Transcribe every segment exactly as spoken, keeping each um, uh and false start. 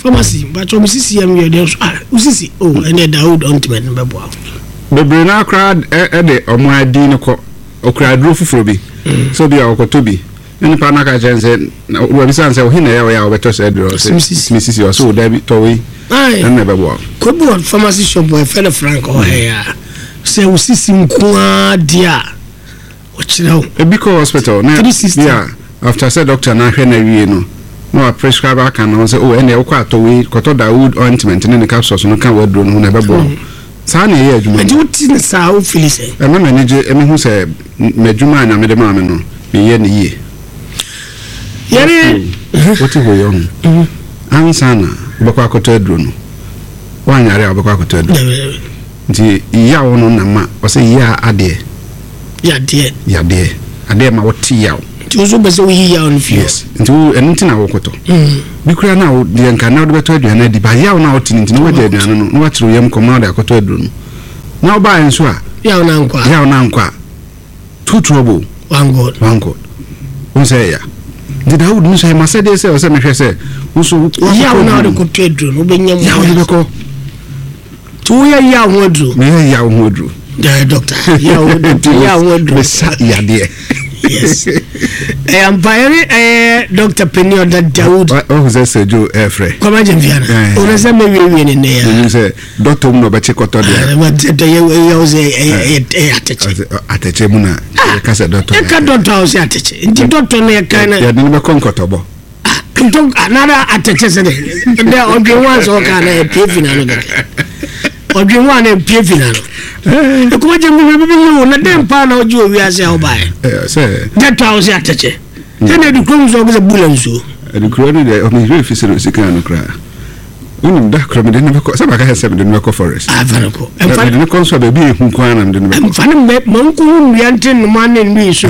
Pharmacy mpakyɛ me sisi yɛ meyɛ deɛ so, ah, wo sisi o, ɛnɛ Dawood ointment no bɛboa wo. Bebree naa koraa ɛde ɔmo adi no kɔ okura aduro foforɔ bi sɛ obi a ɔkɔtɔ bi ne nipa no aka kyerɛ no sɛ wabisa no sɛ ɔhe na ɛyɛ ɔyɛ a wɔbɛtɔ sɛ aduro, ɔsɛ me sisi, ɔsɛ wo da bi tɔ wei, ɛno na ɛbɛboa wo. Kobi wɔ pharmacy shop wɔ ɛfɛ no Frank ɔhɛ a sɛ wo sisi nko ara deɛ a ɔkyerɛ wo. Ebi kɔ hospital na bi a after sɛ doctor na ahwɛ na awie no na wa prescribe aka no sɛ oh, ɛnna ɛwokɔ atɔ wei, kɔtɔ Dawood ointment ne ne capsules no ka wɔ aduro no ho na ɛbɛboa wo. Saa na ɛyɛ adwuma. Nti wote ne saa, wo feel sɛ? Ɛma m'ani gye, ɛmi hu sɛ m'adwuma a Nyame de maa me no, meyɛ ne yie. Yɛne wote hɔ yɛ ho ansa na wobɛkɔ akɔtɔ aduro no, woanyare a wobɛkɔ akɔtɔ aduro, nti yaw no na ma ɔsɛ yia adeɛ. Yadeɛ. Yadeɛ adeɛ ma wote yaw. Nti wo nso bɛ sɛ woyi yaw no fi. Yes, nti wo ɛno nti na wokɔtɔ bi kura na wo deɛ nka na wode bɛtɔ aduane adi ba, yaw na wote no nti na woagya aduane no na woakyerɛ wo yam kɔma wode akɔtɔ aduro no, na wobaeɛ nso a yaw na nkɔ a yaw na nkɔ a, two trouble one God. One God wo sɛ ɛya. Nti Dawood no sɛ masɛdeɛ sɛ ɔsɛ mehwɛ sɛ wo so yaw na wode kɔtɔ aduro no wobɛnya mu. Yaw de bɛkɔ. Nti woyɛ yaw ho aduro? Meyɛ yaw ho aduro. Dɛ doctor, yaw ho doctor, yaw ho aduro. Mesa yadeɛ. Yes, ɛyɛ mpa. Yɛne ɛyɛ doctor Penny ɔda Dawood. Ɔhu sɛ Sir Joe ɛɛfrɛ. Kwama Gyamfiana ɔno sɛ mɛwiewie ne nnɛ. Menim sɛ dɔtɔ mu na ɔbɛkye kɔtɔ deɛ. Yɛwo sɛ ɛyɛ atɛkyɛ. Atɛkyɛ mu na yɛka sɛ dɔtɔ. Yɛka dɔtɔ a, wo sɛ atɛkyɛ, nti dɔtɔ no yɛka no. Yɛde no bɛkɔ nkɔtɔbɔ. Ntɔ anara atɛkyɛ sɛ dɛ dɛ ɔdwen ho ansɛ ɔka na ɛpie fi n'ano kɛkɛ, ɔdwen ho a na ɛpie fi n'ano. Ɛkɔmɔ gye mu bibi yi wo na dɛn paa na ɔgye wɔ wiase a wobaeɛ? Sɛ dɛtɔ a wo sɛ atɛkyɛ sɛ na ɛde kurom so ɔkɛ sɛ bula nsuo. Ɛde kuro no deɛ, ɔmehwerɛ fi sɛ no sika no koraa wonim da korɔ mede no bɛkɔ sɛ maka sɛ mede no bɛkɔ forest. Afa no kɔ. Mede no kɔ nso a, baabi a ɛhu kwan na mede no bɛkɔ. Ɛmfa no mmɛ ma nkohu nnua nte nnoma ne nnui so.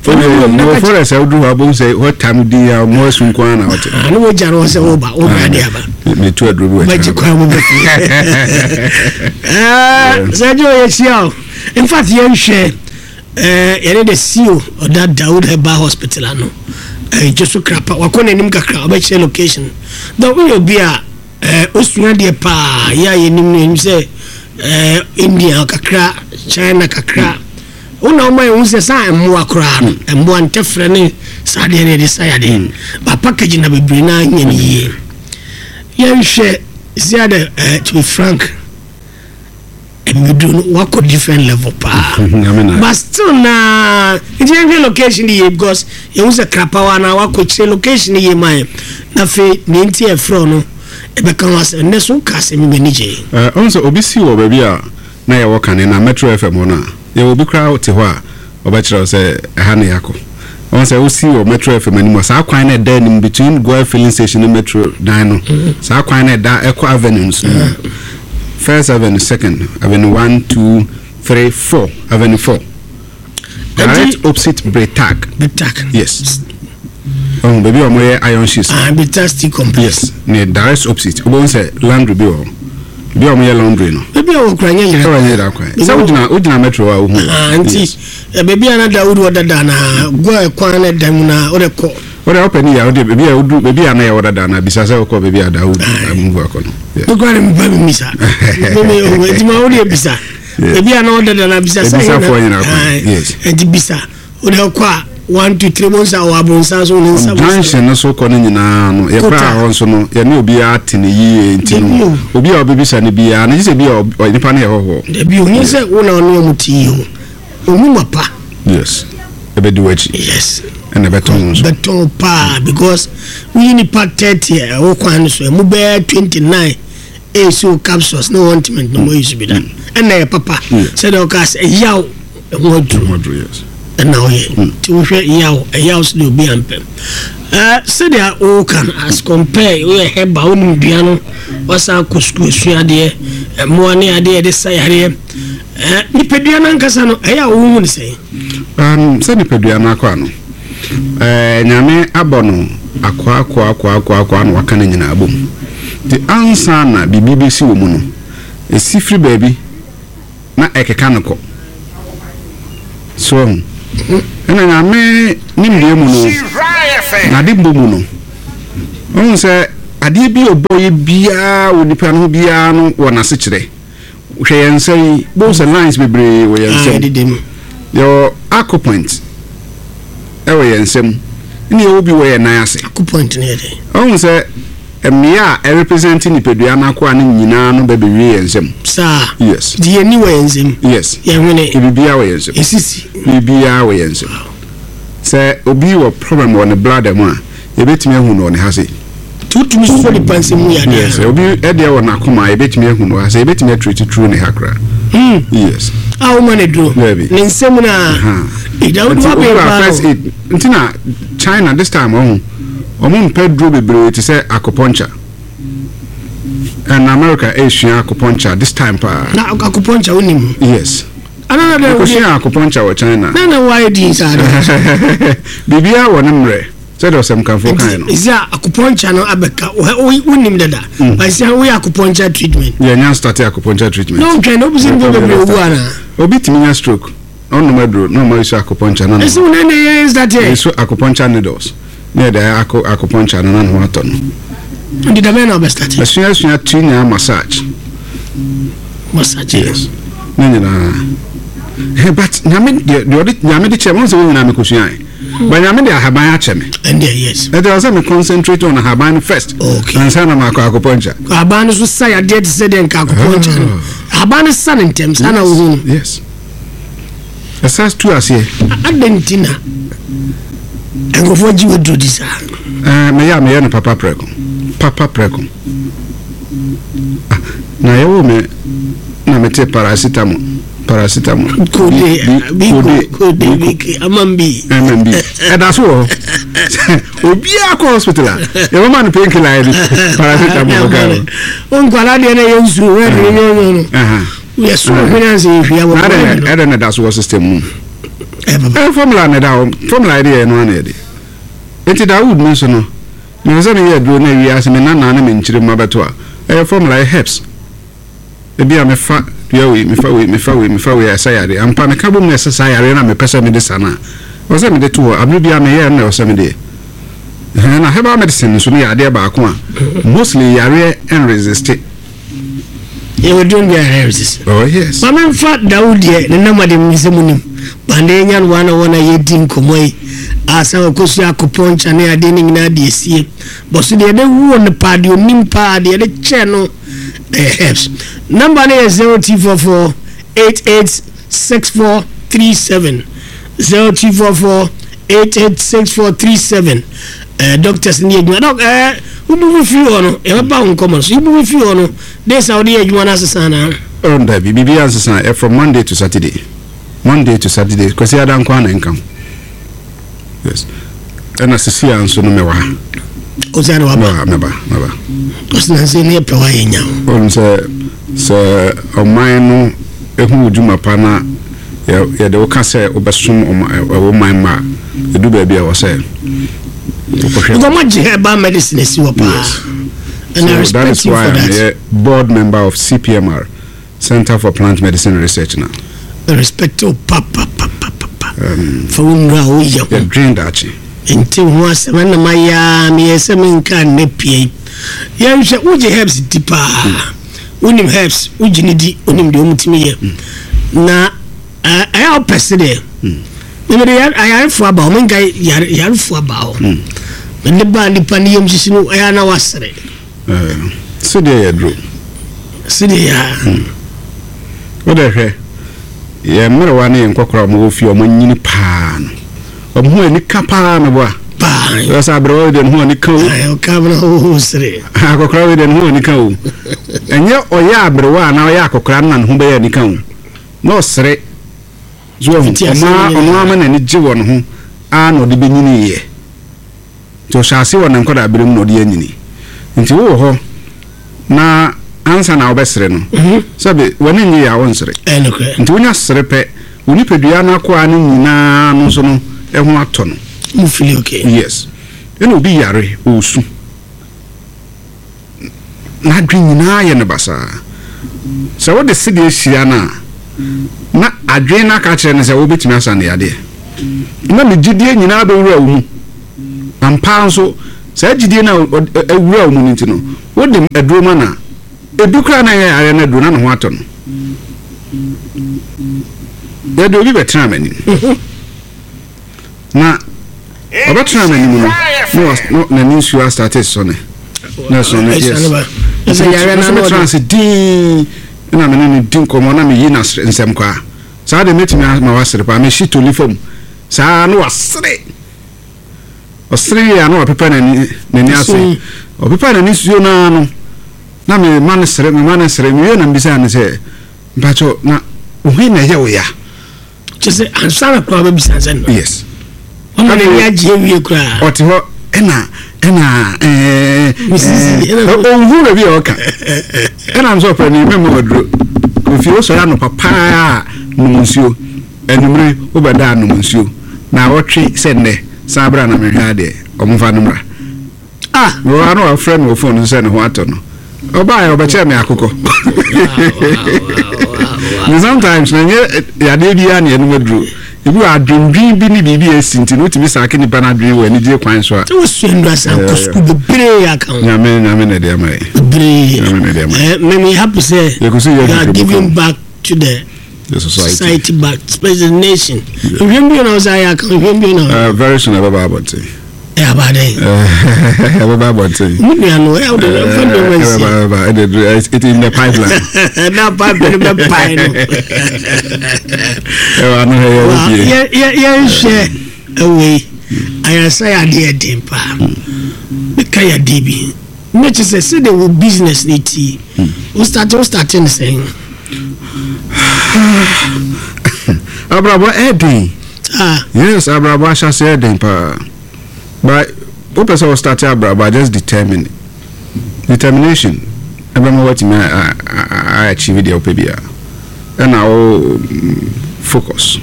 Fa no wɔ wɔ forest a woduru hɔ abom sɛ hɔ tam din a ɔmo asu nko ara na wɔte. Ne wogya no hɔ sɛ woba wobra de aba. Metu aduro bi wɔ bɛgye kwan mu bɛfie sɛ gye ɔyɛhyia o. In fact, yɛnhwɛ yɛne the C E O ɔda Dawood Herbal Hospital ano gye so krapa wakɔ n'anim kakra, ɔbɛkyerɛ location na woyɛ obi a osua deɛ paa yɛ a yɛnim no, yɛnim sɛ India kakra, China kakra, wona woma yɛhu sɛ saa mmoa koraa no, mmoa ntɛfrɛ ne saa deɛ no yɛde sa yadeɛ ba package na bebree na nyɛ no yie. Yɛnhwɛ sia de, to be frank, mbiduro no wakɔ different level paa, but still na nti yɛnhwɛ location yie because yɛhu sɛ krapawa na wakɔ kyerɛ location yie ma yɛ, na afei ne nti ɛfrɛ no ɛbɛka ho asɛm nnɛ so woka asɛm yi m'ani gye. Ɔhu sɛ obi si wɔ baabi a na yɛwɔ kane na Metro F M hɔ no a, yɛwɔ obi koraa te hɔ a ɔbɛkyerɛ wo sɛ ɛha ne yɛakɔ. Ɔhu sɛ wosi wɔ Metro F M anim a, saa kwan no ɛda anim between Goil filling station ne Metro dan no, saa kwan no ɛda ɛkɔ avenues no, First Avenue, Second Avenue, one, two, three, four, Avenue four, direct opposite Bretag. Bretag. Yes, ɔhu baabi a wɔyɛ iron sheets. Ah, Bretag Steel Complex. Yes, ne direct opposite wobɛhu sɛ laundry bi wɔ hɔ bi a wɔyɛ laundry no. Baabi a wɔkura nyɛ yɛrɛ. Ɛwɔ nyɛ yɛrɛ kwan sɛ wogyina wogyina Metro a wohu. Ah, nti baabi a na Dawood wɔ dada na gua kwan na da mu na wode kɔ. Wode wopɛ ne yɛ wode baabi a wodu, baabi a na yɛwɔ dada na bisa sɛ wokɔ baabi a Dawood move akɔ no. Mekora ne mepa memisa nti ma wode bisa baabi a na ɔdada na bisa sɛ ebisafoɔ nyina kwan, yes. Nti bisa wode kɔ a, one, two, three, mo nsa wɔ abonsa so ne nsa. Junction no so kɔ no nyinaa no, yɛkora hɔ nso no, yɛne obiara te ne yie, nti no obi a ɔbɛbisa no biara no gye sɛ bi a nipa no yɛ hɔhoɔ. Dabi, ohun sɛ wo na ɔne ɔmo te yie o, ohun ma pa. Yes, ɛbɛdi w'akyi. Yes. Ɛna ɛbɛtɔn nso. Bɛtɔn paa because woyi nipa thirty a ɛwɔ kwan no so, ɛmu bɛyɛ twenty nine ɛyɛ o capsules ne ointment no mo yi so bi da, ɛna ɛyɛ papa sɛdeɛ ɔka sɛ ɛyaw ɛho aduro ɛna ɔyɛ. Nti wohwɛ yaw ɛyaw so de obi ampɛ ɛɛ sɛdeɛ wɔka no, as compare woyɛ herbal, wonim dua no, wasan akɔ sukuu esua adeɛ, mmoa ne adeɛ yɛde sa yareɛ, ɛɛ nipadua no ankasa no, ɛyɛ a wohu ne sɛn? um, sɛ nipadua no akɔ ano, ɛɛ Nyame abɔ no akoa akoa akoa akoa akoa na waka no nyinaa bom, nti ansa na biribi bɛsi wɔ mu no, ɛsi firi baabi na ɛkeka no kɔ so ho. Ɛna Nyame nimdeɛ mu no, n'ade mbɔ mu no, ɔhu sɛ Adeɛ bi a ɔbɔ yɛ biara wɔ nipa no ho biara no wɔ n'asekyerɛ. Hwɛ yɛn nsa yi, bohu sɛ lines bebree wɔ yɛn Ah, nsam. yɛdeda mu. Yɛwɔ acupoint ɛwɔ yɛn nsam, ɛna yɛwɔ bi wɔ yɛn nan ase. Acupoint no yɛ dɛ? Ɔhu sɛ mmea a ɛrepresent nipadua no akoa no nyinaa no bɛbɛwie yɛn nsam. Saa? Yes. Nti yɛni wɔ yɛn nsam? Yes. Yɛhwene? Biribiara wɔ yɛn nsam. Ɛsisi? Biribiara wɔ yɛn nsam. Sɛ obi wɔ problem wɔ ne bladder mu a, yɛbɛtumi ahu no wɔ ne ha sei. Nti wotumi sɔ nipa nsam mu yadeɛ? Yes, obi ɛdeɛ wɔ n'akoma a, yɛbɛtumi ahu no wɔ ha sɛ yɛbɛtumi atreat through ne ha koraa. Hmm. Yes. A woma no duro? Dabi. Ne nsam no a ɛda wode Nti wabɛn obi wɔ paa first no. aid nti na China this time, ɔho ɔmo mpɛ duro bebree te sɛ acupuncture, and America esua acupuncture this time paa. Na acupuncture wonim? Yes. Anana dɛ? Ekosua acupuncture wɔ China. Na na wayɛ din saa de? Biribiara wɔ ne mmerɛ, sɛdeɛ ɔsɛmkafoɔ kan no. Nti ɛsɛ a acupuncture no abɛka wo- wonim dada, but sɛ woyɛ acupuncture treatment? Yɛnya start acupuncture treatment. Na wontwɛn na wobisɛ nipa bebree owu anaa? Obi tumi nya stroke, ɔnom aduro na ɔma yɛsu acupuncture na Ɛsɛ wo na na yɛ start ɛ? Yɛsu acupuncture needles na yɛde ayɛ acu acupuncture no na ne ho atɔ no. Nti dabɛn na wobɛstart? Asuasua tu nyinaa, massage. Massage? Yes, ne nyinaa. Eh, but Nyame deɛ, deɛ ɔde Nyame de kyerɛ me sɛ wo nyinaa mekɔsuae, but Nyame de ahaban akyɛ me. Ɛndeɛ yes. Ɛnti ɛwɔ sɛ me concentrate on ahaban no first Okay. ansa na maakɔ acupuncture. Ahaban no so sa yadeɛ te sɛ deɛ nka acupuncture no, ahaban no sa ne ntɛm saa na wohu no? Yes, ɛsa tu aseɛ. Adɛn nti na nkurɔfoɔ gye waduro di saa? Eh, meyɛ a meyɛ no papa prɛko, papa prɛko. Ah, na yɛwɔ me na mete paracetamol, paracetamol. Kode. B- bi kode. Kode bi ama bi. M M B ɛda so wɔ hɔ. Obiara kɔ hospital a, yɛbɛma no painkiller, yɛde paracetamol ka ho. Nkwala deɛ no yɛ nsuo wɛde nyɔnyɔ no. Aha. Yɛ so hwene ansa yɛhwia wɔ Na ɛdɛ ɛdɛ na ɛda so wɔ system mu? Ɛbaba. Ɛyɛ formula na ɛda hɔ, formula yɛde yɛ no ana yɛde. Nti Dawood mi nso no, mepɛ sɛ meyɛ aduro na awie ase me nana ne me nkyerɛ mu abɛto a, ɛyɛ formula, yɛ herbs. Ebi a mefa dua wei, mefa wei, mefa wei, mefa wei a ɛsɛ yareɛ ampa, meka bom na ɛsɛ saa yareɛ no a mepɛ sɛ mede sa no a, ɛwɔ sɛ mede to hɔ abere bi a meyɛ no na ɛwɔ sɛ mede yɛ. Ɛhɛn, na herbal medicine nso no yɛ adeɛ baako a mostly yareɛ nresist. Yɛwɔ duro bi a resist? Oh yes. Ma memfa Dawood deɛ ne nam ade mu sɛ mu nim bande nya no wana wɔna yɛdi nkɔmmɔ yi asa wɔkɔsua acupuncture ne adeɛ no nyinaa de asie bɔ so deɛ yɛde wuo no paa, deɛ onim paa, deɛ yɛde kyɛɛ no ɛyɛ herbs. Number no yɛ zero two four four eight eight six four three seven, zero two four four eight eight six four three seven. uh, doctors ne adwuma doc, uh, wobubu firi hɔ no, yɛbɛba wo nkɔmmɔ no so. Wobubu firi hɔ no de sa wode yɛ adwuma no asesa anaa? Oh, dabi, biribiara nsesa. Ɛ from Monday to Saturday, Monday to Saturday. Kwasi ada nko ana nka ho. Yes, ɛna sisi a nso no mɛwɔ ha. Ɔsɛ na waba? Mɛba, mɛba, mɛba. Ɔsɛ ne yɛpɛ woayɛ nya wo. Ɔno sɛ sɛ ɔman no ehu wo dwuma pa na yɛ- yɛde wo ka sɛ wobɛsom ɔma- ɛ- ɛwɔ man ma a, ɛdu baabi a ɛwɔ sɛ wokɔhwɛ. Because moagye herbal medicine asi hɔ paa. Yes. And I So respect that is you why for I'm that. a board member of C P M R, Center for Plant Medicine Research now. I respect you pa pa pa pa pa pa fa wo nnura a woyɛ ho. Yɛdwen daakye. Nti ho asɛm ɛna mayɛ a meyɛ sɛ menka nnɛ pie. Yɛnhwɛ, wogye herbs di paa, wonim herbs, wogye ne di, wonim deɛ ɔmutumi yɛ na ɛ- ɛyɛ a wopɛ se deɛ memede yar- ayarefoɔ aba hɔ, menka yare- yarefoɔ aba hɔ, mede baa nipa ne yam hyehye no, ɛyɛ a na wasere. Eh, sɛdeɛ yɛ duro. Sedeɛ yɛ a Wode hwɛ yɛ mmerewa ne yɛ nkɔkora a ɔmowɔ fie a ɔmanyini paa no, ɔmo ho ani ka paa meboa. Paa. Ɛsɛ sɛ aberewa wei deɛ ne ho ani ka o. Ɔka bena woho sere. Akɔkora wei deɛ ne ho ani ka o. Ɛnyɛ ɔyɛ aberewa anaa ɔyɛ akɔkora no na ne ho bɛyɛ ani ka o na ɔsere so ɔho. Nti asɛm ɔma nyinaa. Ɔno ama n'ani gye wɔ ne ho a na ɔde bɛnyini yɛ, nti ɔhyɛ ase wɔ ne nkɔda abere mu na ɔde anyini. Nti wowɔ hɔ na ansa na wobɛsere no, sɛbe w'ani nye yɛ a, wonsere. Ɛnokorɛ. Nti wonya sere pɛ, wo nipadua no akoa no nyinaa no nso no ɛho atɔ no. Mu feel okay. Yes, ɛna obi yare ɔɔsu, n'adwen nyinaa yɛ no basaa. Sɛ wode sedeɛ hyia no a, na adwen no aka kyerɛ no sɛ wobɛtumi asa ne yadeɛ, na ne gyidie nyinaa bɛwura wo mu. Ampa nso Saa gyidie no a awura wo mu no nti no, wode aduro ma no a, ebi koraa na ɛyɛ yareɛ no aduro na ne ho atɔ no. Yɛde obi bɛtena m'anim. Na ɔbɛtena m'anim no, na n'ani nsuo astate sɔne. Na sɔne, yes. Nso mɛtena ase dinn na me ne no di nkɔmmɔ na meyi no nsɛm kwaa. Saa deɛ mɛtumi ama wasere paa. Mehye toli fam saa na wasere. Ɔsere wie a na wapepa n'ani n'ani ase. Ɔpepa n'ani suo no ara no, na mema no sere, mema no sere. Mewie na mebisa no sɛ, mpakyɛw, na wo he na ɛyɛ wo ya? Kyerɛ sɛ ansa na koraa bɛbisa sɛ no. Yes. Ɔma n'ani agye awie koraa. Ɔte hɔ ɛna ɛna ɛɛ ɔnhu baabi a ɔka. Ɛna m sɛ ɔpɛ ne mɛma waduro. Kofi wosɔre anɔpa paa nom nsuo. Anwummere wobɛda anom nsuo. Na awɔtwe sɛ nnɛ san bra na mehwɛ adeɛ. Ɔmfa no mmra. Ah! Mewɔ ha na wafrɛ me wɔ phone so sɛ ne ho atɔ no. Ɔbaeɛ ɔbɛkyɛɛ me akokɔ. Ne sometimes na nyɛ yadeɛ biara na yɛnom aduro. Ebi wɔ adwendwen bi ne biribi a asi nti no wotumi saake nipa no adwene wɔ anigye kwan so a. Sɛ wosua nnuro asan kɔ sukuu bebree aka ho. Nyame nyame na ɛde ama yɛ. Bebree. Nyame na ɛde ama yɛ. Eh, me me happy sɛ Yɛkɔ so yɛ you are nhwehwɛmu giving kɔ. back to the The society. society back, especially the nation. Nhwɛm bio na ɔsɛ ayɛ aka nhwɛm bio na. Uh, very soon ɛbɛba abɔnten. Ɛ abadɛn. Ɛbɛba abɔnten. Mu nua no ɛ ɔde ɛfɛ nneɛma nsi. Ɛbɛba ɛbɛba ɛde it in the pipeline. Na pipeline bɛ pae no. Ɛwɔ ano hɛ yɛ Wa wɔ yɛ yɛ yɛnhwɛ ɛwɔ yi ayaresa yɛ adeɛ ɛden paa. Meka yɛ adeɛ bi. Ne kyerɛ sɛ sɛdeɛ wo business ne ti. Wo start wo start ne sɛn. Abrabɔ ɛden. Ah. Yes, abrabɔ ahyase ɛden paa. But wopɛ sɛ wo start abrabɔ, just determine. Determination ɛbɛma watumi a achieve deɛ wopɛ biara. Ɛna wo focus.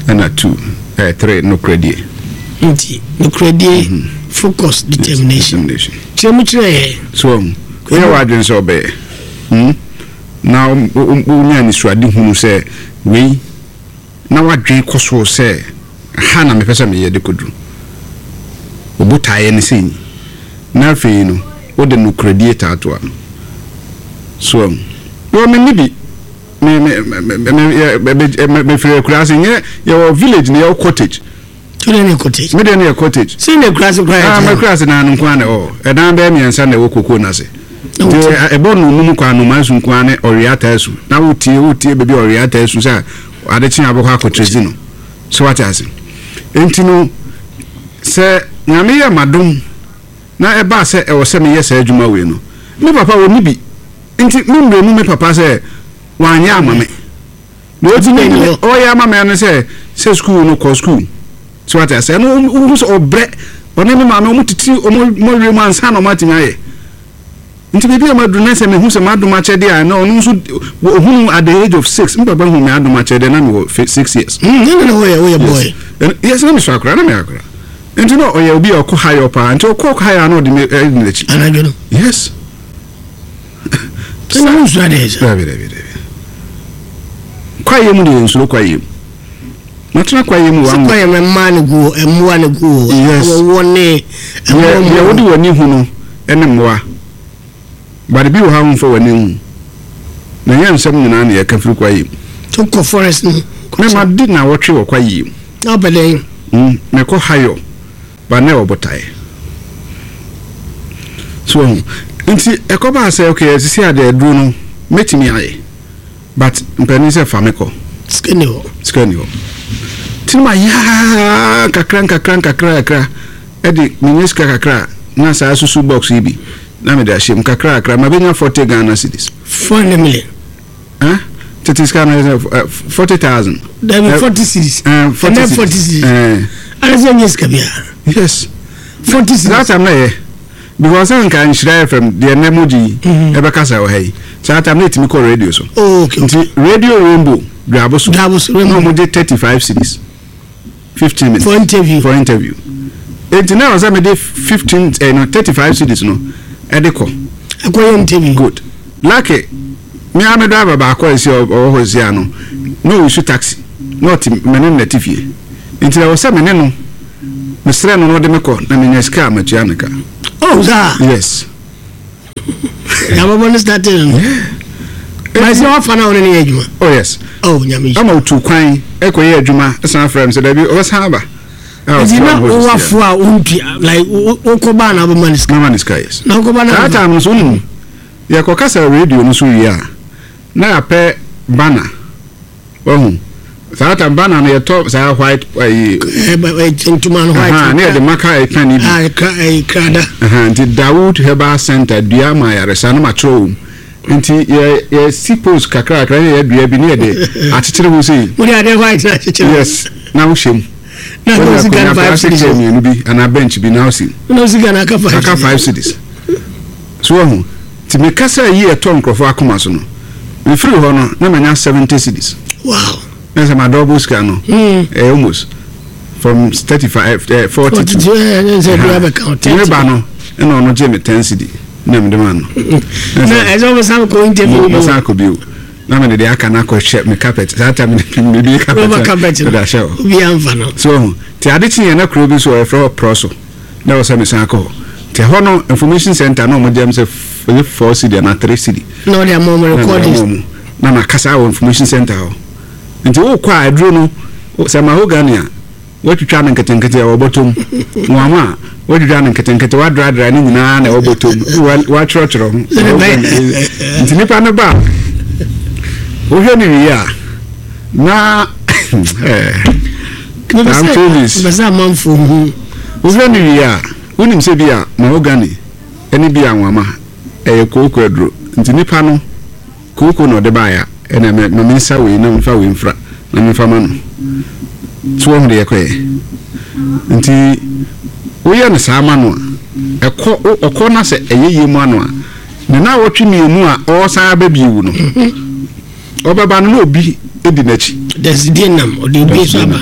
Ɛna two, eh, three, nokoradie. Nti nokoradie, focus, determination. Determination. Kyerɛ mu kyerɛ yɛ. So woyɛ w'adwene sɛ ɔbɛyɛ. Hmm? Na wonya anisoade hunu sɛ wei na wadwene kɔ so sɛ ha na mepɛ sɛ meyɛ de kɔduru. Obotaeɛ ne sɛ na afei no wode nokoradie taatoa no. So wɔ me ne bi me me me me me mefiri akuraase nyɛ yɛwɔ village na yɛwɔ cottage. Tu ne ne cottage. Me deɛ no yɛ cottage. Sɛ ne akuraase koraa yɛ Ah, kyerɛ. m'akuraase na ano nko ara na ɛwɔ. Ɛdan bɛyɛ mmiɛnsa na ɛwɔ koko n'ase. Nti ɛbɔ no num kwan no maa su nko ara ne ɔwea taa su. Na wotie wotie baabi a ɔwea taa su sɛ ade kye abɛkɔ akɔtwerɛ no. So wate ase. Nti no sɛ Nyame yɛ m'adom na ɛbaa sɛ ɛwɔ sɛ meyɛ saa adwuma wei no, me papa wɔ ni bi. Nti me mmerɛ mu me papa sɛ wanyɛ ama me. Na ɔtumi ɔyɛ ama me ano sɛ sɛ school no kɔ school. So wate ase. Ɛno wohu sɛ ɔbrɛ ɔne me maame ɔmo tete ɔmo mɔwerɛ mu ansa na ɔmo atumi ayɛ. Nti baabi a maduru na sɛ mehu sɛ m'adom akyɛdeɛ a na ɔno nso ohunu at the age of six. Me papa hu me adom akyɛdeɛ na mewɔ six years. Mm, ne na woyɛ woyɛ boy. Yes, na mesɔ akora na meyɛ akora. Nti na ɔyɛ obi a ɔkɔ hayɔ paa. Nti ɔkɔ hayɔ a na ɔde me ɛdi n'akyi. Anadwo no. Yes. Sɛ na wonsua adeɛ sɛ. Dabi dabi dabi. Kwaeɛ mu deɛ nsuro kwaeɛ mu. Matena kwaeɛ mu Sɛ wa. kwaeɛ mu mmaa ne gu hɔ, mmoa ne gu hɔ. Yes. Wɔwɔ ne Deɛ mmoa deɛ wode w'ani hu no ɛne mmoa. But bi wɔ ha womfa w'ani hu. Na nyɛ nsɛm nyinaa na yɛka firi kwaeɛ mu. To kɔ forest no. Me ma di na wɔtwe wɔ kwaeɛ mu. Na wopɛ dɛn? Mm, mekɔ hayɔ ba na ɛwɔ botaeɛ. So ɔho nti ɛkɔbaa sɛ okay ɛsisi adeɛ aduro no mɛtumi ayɛ but mpanin sɛ fa me kɔ. Sika ni hɔ. Sika ni hɔ. Nti no ma yaa kakra nkakra nkakra kakra ɛde menya sika kakra na saa susu box yi bi na mede ahyɛ mu kakra kakra ma bɛnya forty Ghana cedis. Four hundred million. Huh? Tete sika no yɛ forty thousand. Dabi forty cedis. Uh, forty Ɛnɛ forty cedis. Uh, Ana sɛ nyɛ sika biara. yes. Forty cedis. That time na yɛ because sɛ nka Nhyira F M deɛ nnɛ mo gye yi ɛbɛkasa wɔ ha yi saa time na ɛtumi kɔ radio so. Oh, okay. Nti Radio Rainbow Dwabo so. Dwabo so, na Rainbow. ɔmo gye thirty five cedis fifteen minutes. For interview. For interview. Nti na ɔsɛ mede fifteen eh, no thirty five cedis no ɛde kɔ. Akɔyɛ interview. Good. Lucky me a me driver baako a esi ɔwɔ hɔ esi ano na ɔresu taxi na ɔte me ne no na te fie nti ɛwɔ sɛ me ne no Mesrɛ no na ɔde me kɔ na menya sika a matua ne ka. Oh, saa? Yes. Yabɔbɔ no starting no ma sɛ wafa no a wone ne yɛ adwuma? Oh yes. Oh, Nyame. Ama otu kwan ɛkɔyɛ adwuma, ɛsan frɛ m sɛ dabi, ɔbɛsan aba. Nti na wowafo a wontua, like wokɔ baa na wobɛma ne sika? Mama ne sika, yes. Na wokɔba na saa time no so, wonim yɛkɔkasa radio no so wie a, na yɛapɛ banner. Wahu saa time banner no, yɛtɔ saa white ayi. Ntoma no white. Aha, ne yɛde maka ɛka ne bi. Ah, kra- eh, krada. Aha, nti Dawood Herbal Center, dua ma ayaresa no matwerɛ wɔ mu. Nti yɛ yɛsi post kakra kakra ne yɛdua bi ne yɛde akyekyere ho sei. Wode adeɛ white na akyekyere. Yes, na wohyɛ mu. Na wode sika no five plastic cedis chair mmienu bi anaa bench bi na wosi. Na wo sika no aka five. Aka five cedis so. Wahu, nti mekasa yi, ɛtɔ nkurɔfoɔ akoma so no, mefiri hɔ no na manya seventy cedis. Wow na sɛ madɔbo sika no, Hmm. eh, almost from thirty five, eh, forty two. Forty two, eh, ne sɛ dua bɛka wo nti meba no, ɛna ɔno gye me ten cedi na mede ma no. Na ɛsɛ wobɛsan kɔ interview mu? Mɛsan akɔ bio na mede deɛ aka no akɔhyɛ me carpet. Saa time mebie carpet. Rubber carpet no. Mede ahyɛ hɔ. Obiaa mfa no. So ɔho nti ade kye yɛn na kuro bi so ɔyɛfrɛ hɔ Prɔ so na ɛwɔ sɛ mesan akɔ hɔ. Nti ɛhɔ no information center na ɔmo gyam sɛ f- ɛyɛ four cedi anaa three cedi. Na ɔde ama ɔmo Na mede recordings. ama ɔmo. Na makasa wɔ information center hɔ. Nti wokɔ a, aduro no sɛ mahogany a, woatwitwa no nketenkete a ɛwɔ bɔtɔm, nwama a woatwitwa no nketenkete, woadradra ne nyinaa na ɛwɔ bɔtɔm, Wa- woatwerɛtwerɛ ho. Nti nipa no ba a, wohwɛ no wie a, na eh, I'm told this. Bɛ sɛ amanfoɔ hu. Wohwɛ no wie a, wonim sɛ bi a mahogany ɛne bi a nwama ɛyɛ kooko aduro. Nti nipa no kooko na ɔde baeɛ a, ɛna ma ma mensa wei na memfa wei mfra na memfa ma no so. Wɔn de yɛkɔɛ nti woyɛ no saa ma no a, ɛkɔ wo- ɔkɔ na sɛ ɛyɛ yie mu ano a, ne na wɔtwe mmienu a ɔresan aba bio no, ɔbɛba no na obi di n'akyi. Dasidie nam ɔde obi nso aba.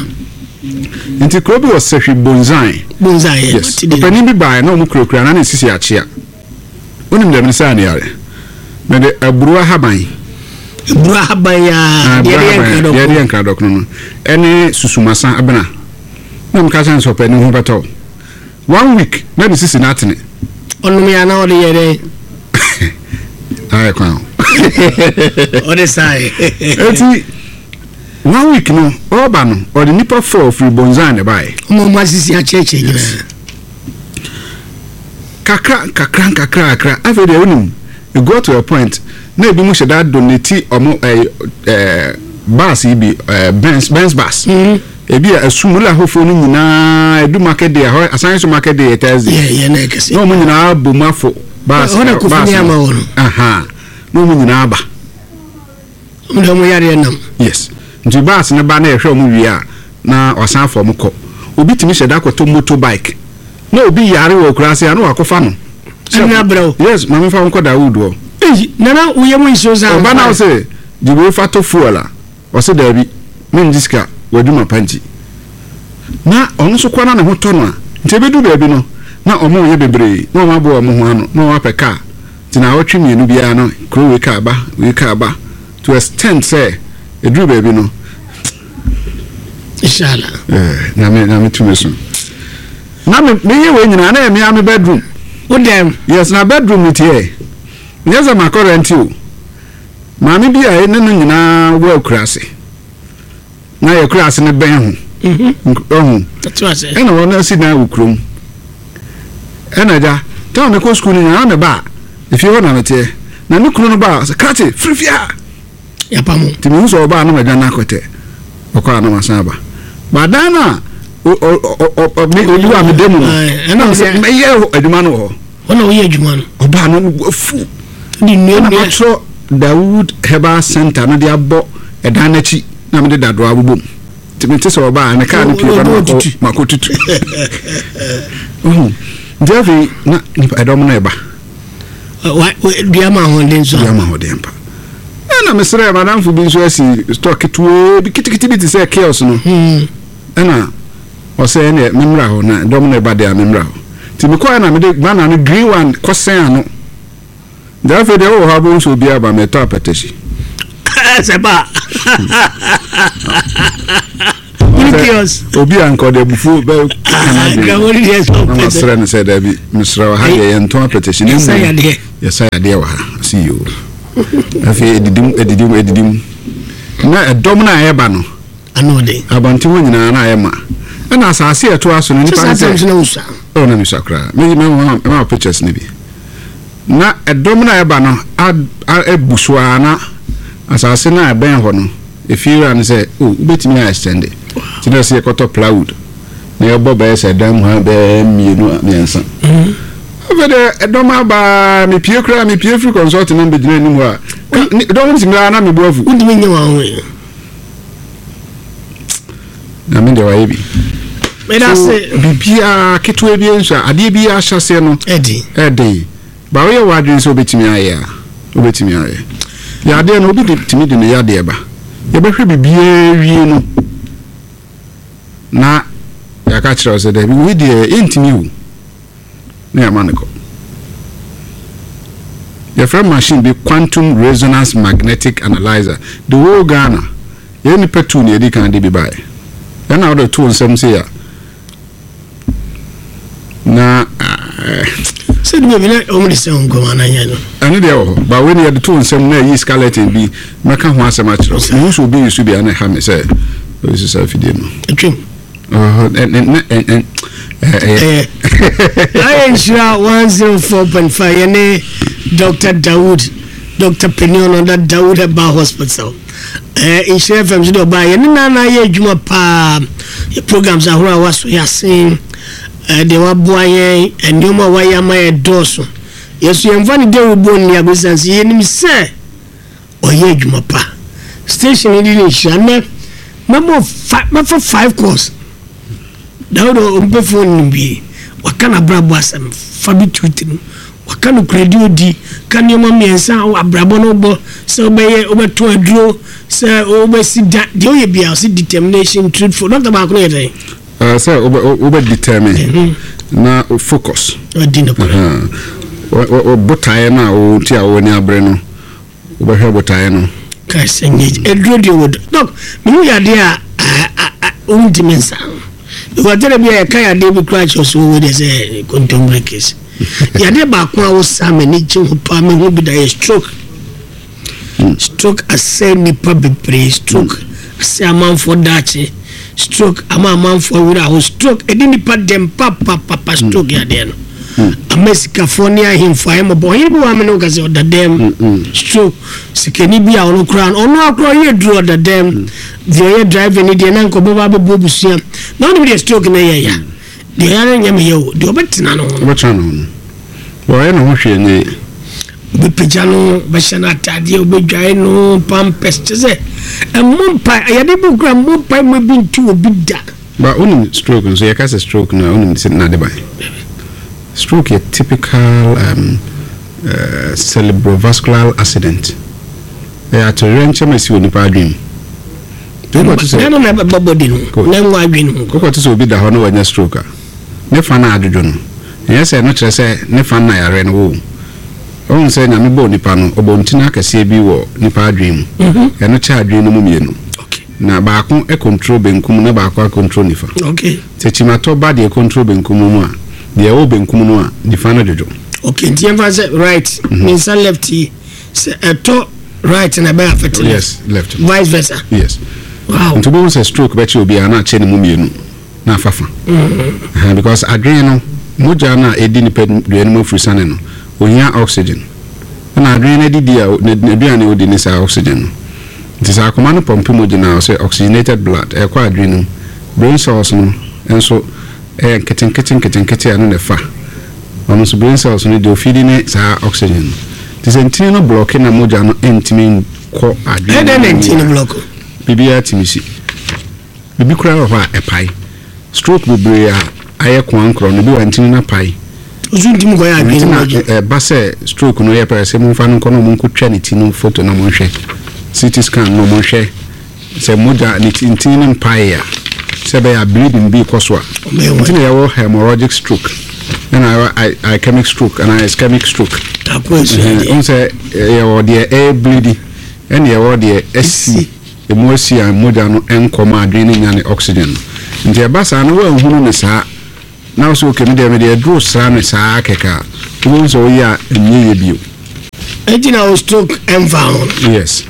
Nti kuro bi wɔ Sɛhwi Bonzan. Bonzan yɛ. Yes, ɔpanin bi baa na ɔmo kurakura na ne sisi akyea. Wonim deɛ mene saa ne yare, mede aburo ahaban. Aburo ahaban yaa deɛ de yɛ nkradɔkono. Deɛ de yɛ nkradɔkono no ɛne susumasa abena na meka kyerɛ no sɛ ɔpanin ho bɛtɔ wo. One week na ne sisi no atene. Ɔnom yɛ anaa ɔde yɛ dɛn? Ayɛ kwan o. Ɔde saa yɛ. Eti one week no, ɔreba no, ɔde nipa four firi Bonzan na ɛbaeɛ. Ɔmo ɔmo asisi akyerɛkyerɛ nyinaa. Kakra kakra kakra kakra, afei deɛ wonim, it got to a point na ebi mu hyɛ da donate ɔmo ɛɛ ɛɛ bus yi bi, ɛɛ benz benz bus. Ebi a esum wula ahofoɔ no nyinaa edu market day ɛhɔ, asan so market day yɛ Thursday. Yɛ yɛ na ɛkɛse. Na ɔmo nyinaa bɔ mu afo bus. Hɔ na Kofi bus ne ama wɔ no. Aha, na ɔmo nyinaa ba. Ɔmo de ɔmo yareɛ nam. Yes, nti bus ne ba na yɛhwɛ ɔmo wie a, na ɔsan afɔ ɔmo kɔ. Obi tumi hyɛ da akɔtɔ motor bike na obi yare wɔ akuraase a, na wakɔfa no. Ɛne abrɛ wo. Yes, maame, fa nkɔ Dawood hɔ. Eyi nana woyɛ mu nsuo saa. Ɔba na ɔsɛ gye fa tɔ fuel a, ɔsɛ daabi, mengye sika w'adwuma pa. Nti na ɔno nso kɔ na ne ho tɔ no a, nti ebedu baabi no na ɔmo yɛ bebree na ɔmo aboa ɔmo ho ano na ɔmo apɛ kaa. Nti na awɔtwe mmienu biara no, kuro wei kaa ba, wei kaa ba, to extent sɛ eduru baabi no. Inshallah. Ɛɛ nyame nyame tumi so na me meyɛ wei nyinaa na yɛ mea me bedroom. Wo dɛm. Yes, na bedroom ni tiɛ nyɛ sɛ makɔ rent o. Maame bi a ɛne no nyinaa wɔ akuraase na yɛ akuraase no bɛn ho ɔho. Ɛto ase. Ɛna wɔn asi dan wɔ kurom. Ɛna agya táwọn mekɔ sukuu no nyinaa, me ba a efie hɔ na meteɛ na ne kunu no ba a, sɛ krakye firi fie a. Yapamo. Nti mehu sɛ ɔbaa no, ma dwa no akɔtɛ ɔkɔ a na masan aba badan no a ɔni hɔ a meda mu no. Ɛna ɛna sɛ mɛyɛ adwuma no wɔ hɔ. Wɔn na woyɛ adwuma no. Ɔbaa no no afu. De nnua ɛna nnua. Matwerɛ Dawood Herbal Center no de abɔ ɛdan n'akyi na mede dadoa abobɔ mu. Nti mete sɛ ɔbaa ne kaa no pie ba no, makɔ makɔ tutu. Ɔhu, nti afei na nipa ɛdɔm no ɛba. Wa wa- dua ma ahoɔden so. Dua ma ahoɔden pa. Ɛna mesrɛ madamfo bi nso asi store ketewaa bi, kitikiti bi te sɛ kiosk no. Hmm. Ɛna ɔsɛ ɛnɛ memmra hɔ na dɔm no ɛba deɛ a, memmra hɔ. Nti mekɔɛ na mede banner no, green one, kɔsɛn ano. Nti afei deɛ, wowɔ hɔ abɛhu sɛ obi aba mɛtɔ apɛtɛhyi. Sɛ ba Two kiosks. Obi a nka ɔde abufuo bɛ Ah, Gramoni deɛ sɛ na ɔpɛ sɛ- masrɛ no sɛ daabi, mesrɛ wɔ ha deɛ, yɛntɔn apɛtɛhye ne Yɛsa mmom yadeɛ. Yɛsa yadeɛ wɔ ha. Ɔse yoo. Afei ɛdidim, ɛdidim, ɛdidim na ɛdɔm no a ɛba no Ano ɔden. Abɔnten hɔ nyinaa na ayɛ ma, ɛna asase a ɛtoa so no, sɛ nipa saa no tam sɛ so na wosua. Ɔ, na mesua koraa. Me- me- me- mema wo pictures no bi na ɛdɔm no a ɛba no a- a- abu so a, na asase no a ɛbɛn hɔ no, ɛfie wura no sɛ o, wobɛtumi a extend, nti na sɛ yɛkɔtɔ plywood na yɛbɔ bɛyɛ sɛ dan mu ha bɛyɛ mmienu a mmiɛnsa. Afei deɛ ɛdɔm aba, mepie koraa, mepie firi consult no mbɛgyina anim hɔ a, ka- ne- dɔm no tumi a na mebu afu. Wontumi nyɛ wɔn ho yɛ. Na me deɛ wayɛ bi. Meda So se. Biribiaa ketewa bi nso a, adeɛ bi ahyɛ aseɛ no ɛdi ɛden ba, woyɛ w'adwene sɛ wobɛtumi ayɛ a, wobɛtumi ayɛ. Yadeɛ no, obi de tumi de ne yadeɛ ba, yɛbɛhwɛ biribiaa wie no na yɛaka kyerɛ wo sɛ daabi, wei deɛ yɛntumi wo, na yɛama no kɔ. Yɛfrɛ machine bi quantum resonance magnetic analyzer. The whole Ghana, yɛn nipa tu ne yɛdi kan de bi baeɛ, ɛna wode to nsɛm sei a na eh, sɛ de baabi na ɔmo de sɛ nkɔmɔ ananyɛ no. Ɛno deɛ wɔ hɔ ba, wei ne yɛde to nsɛm na ɛyi skeleton bi. Mɛka ho asɛm akyerɛ wo. Mehu sɛ obi yi so bi a, na ɛha me sɛ ɔyi so saa afidie no. Atwam. Ɔhɔ, ɛ- ɛ- ɛ- ɛ- ɛ- ɛyɛ ɛyɛ ayɛ Nhyira one zero four point five. Yɛne Doctor Dawood, Doctor Penion ɔda Dawood Herbal Hospital. ɛɛ Nhyira F M so de ɔbaa yɛne nana yɛ adwuma paa. Yɛ programs ahorow a waso yɛ asen, ɛɛ deɛ waboa yɛn, nneɛma a wayɛ ama yɛ dɔɔso. Yɛso yɛmfa ne dawubɔ nni agosan sɛ yɛnim sɛ ɔyɛ adwuma pa. Station yi de ne nhyira nnɛ mɛbɔ fa mɛfa five calls. Dawuda ɔmpɛ phone no bi, waka n'abrabɔ asɛm fa bi tu tirim, waka no kuradi, odi ka nneɛma mmiɛnsa a abrabɔ no bɔ sɛ wobɛyɛ, wobɛto aduro, sɛ wobɛsi da deɛ woyɛ bia, ɔsɛ determination, truthful. Doctor, baako no yɛ dɛn? Ɛɛ, sɛ wobɛ wobɛ determine na wo focus. Ɔdi no korɛ. Aha. Wɔ- wɔ- wɔ botaeɛ no a wo nti a w'ani abere no, wobɛhwɛ botaeɛ no. Ka sɛ nyɛ aduro deɛ wɔ doc, mehu yadeɛ a a- a- a- wontumi nsa because tɛrɛ bi a yɛka yadeɛ bi koraa kyerɛ so wɔwɔ deɛ sɛ kontommire case. Yadeɛ baako a wosa m'ani gye ho paa mehu bi da yɛ stroke. Stroke asɛe nnipa bebree, stroke asɛe amanfoɔ daakye, stroke ama amanfoɔ werɛ aho, stroke ɛde nnipa dɛm papapapa. Stroke yadeɛ no ama sikafoɔ ne ahemfo ayɛ mmɔbɔ. Ɔhene bi wɔ amene wo ka sɛ ɔda dɛm stroke, sikani bi a ɔno koraa no, ɔno akora ɔyɛ duro, ɔda dɛm. Deɛ ɔyɛ driver ni deɛ na nka ɔbɛba abɛbɔ abusua na ɔne bi deɛ, stroke no yɛ ya deɛ ɔyɛ no nyɛ meyɛ o, deɛ ɔbɛtena no ho no. Wobɛtena ne ho no, wɔyɛ ne ho hwee nyɛ. Wobɛpagya no, wobɛhyɛ no atadeɛ, wobɛdwae no, pampers, kyɛ sɛ ɛmmɔ mpa yɛde bi kora mmɔ mpa ma bi ntu obi da. Ba wonim stroke nso, yɛka sɛ stroke no a, wonim sɛ nade ban stroke yɛ typical um, uh, cerebrovascular accident. Ɛyɛ atoyerɛnkyɛm a ɛsi wɔ nipa adwene mu. Nti wokɔto sɛ ɛno na ɛbɛbɔ bɔdi no Good. na ɛnwɔ adwene ho. Wokɔto sɛ obi da hɔ na wanya stroke a, ne fa no adwodwo no, ɛnyɛ sɛ ɛno kyerɛ sɛ ne fa no na yare no wɔ. Ɔhu sɛ Nyame bɔɔ nipa no, ɔbɔ ntini akɛseɛ bi wɔ nipa adwene mu. Ɛno kyɛ adwene no mu mmienu okay na baako control benkum na baako acontrol nifa. Okay sɛ kyimatɔ ba deɛ control benkum mu a, deɛ ɛwɔ benkum no a, nifa no dwodwo. Okay, nti yɛmfa sɛ right ne nsa left yi, sɛ ɛtɔ right na ɛbɛyɛ affect left. Yes, left. Vice versa. Yes. Wow. Nti wobɛhu sɛ stroke bɛkyɛ obiara na akyɛ ne mu mmienu na afa fa. Ɛhɛn, because adwene no, mogya no a ɛdi nipa dua no mu afiri sane no, ohia oxygen, ɛna adwene no adidi a n'aduane a ɔdi ne saa oxygen no. Nti sɛ akoma no pump mogya no a, ɔsɛ oxygenated blood ɛkɔ adwene no mu. Brain cells no nso ɛyɛ nketenkete nketenkete a ɛno na ɛfa ɔno nso brain cells no deɛ ofidi ne saa oxygen no. Nti sɛ ntini no block na mogya no ntumi nkɔ adwene ɛdɛn na no mu nti no a, block? Biribiara tumi si. Biribi koraa wɔ hɔ a ɛpae. Stroke bebree a ayɛ koankorɔ no bi wɔ ntini no apae. Osu ntumi kɔyɛ adwene nti no na adwene. ɛ- ɛba sɛ stroke no yɛ pɛ sɛ momfa no nkɔ na ɔmo nkɔtwa ne ti no photo na monhwɛ C T scan na ɔmonhwɛ sɛ mogya ne ti ntini no mpae a, sɛ ɛbɛyɛ a bleeding bi kɔ so a. Ɔmɛyɛ. Nti na yɛwɔ hemorrhagic stroke ɛna yɛwɔ i- ischemic stroke anaa ischemic stroke. Tako esua deɛ. Ɛhu sɛ yɛwɔ deɛ ɛyɛ bleeding ɛna yɛwɔ deɛ ɛsi. Emu asi a mogya no ɛnkɔ ma adwene no nya ne oxygen no. Nti ɛba saa no, woanhunu ne saa na wo sɛ okay, medeɛ mede aduro sra ne saa kɛkɛ a, wobɛhu sɛ woyɛ a ɛnyɛ yɛ bio. Enti na wo stroke ɛmfa ho no? Yes.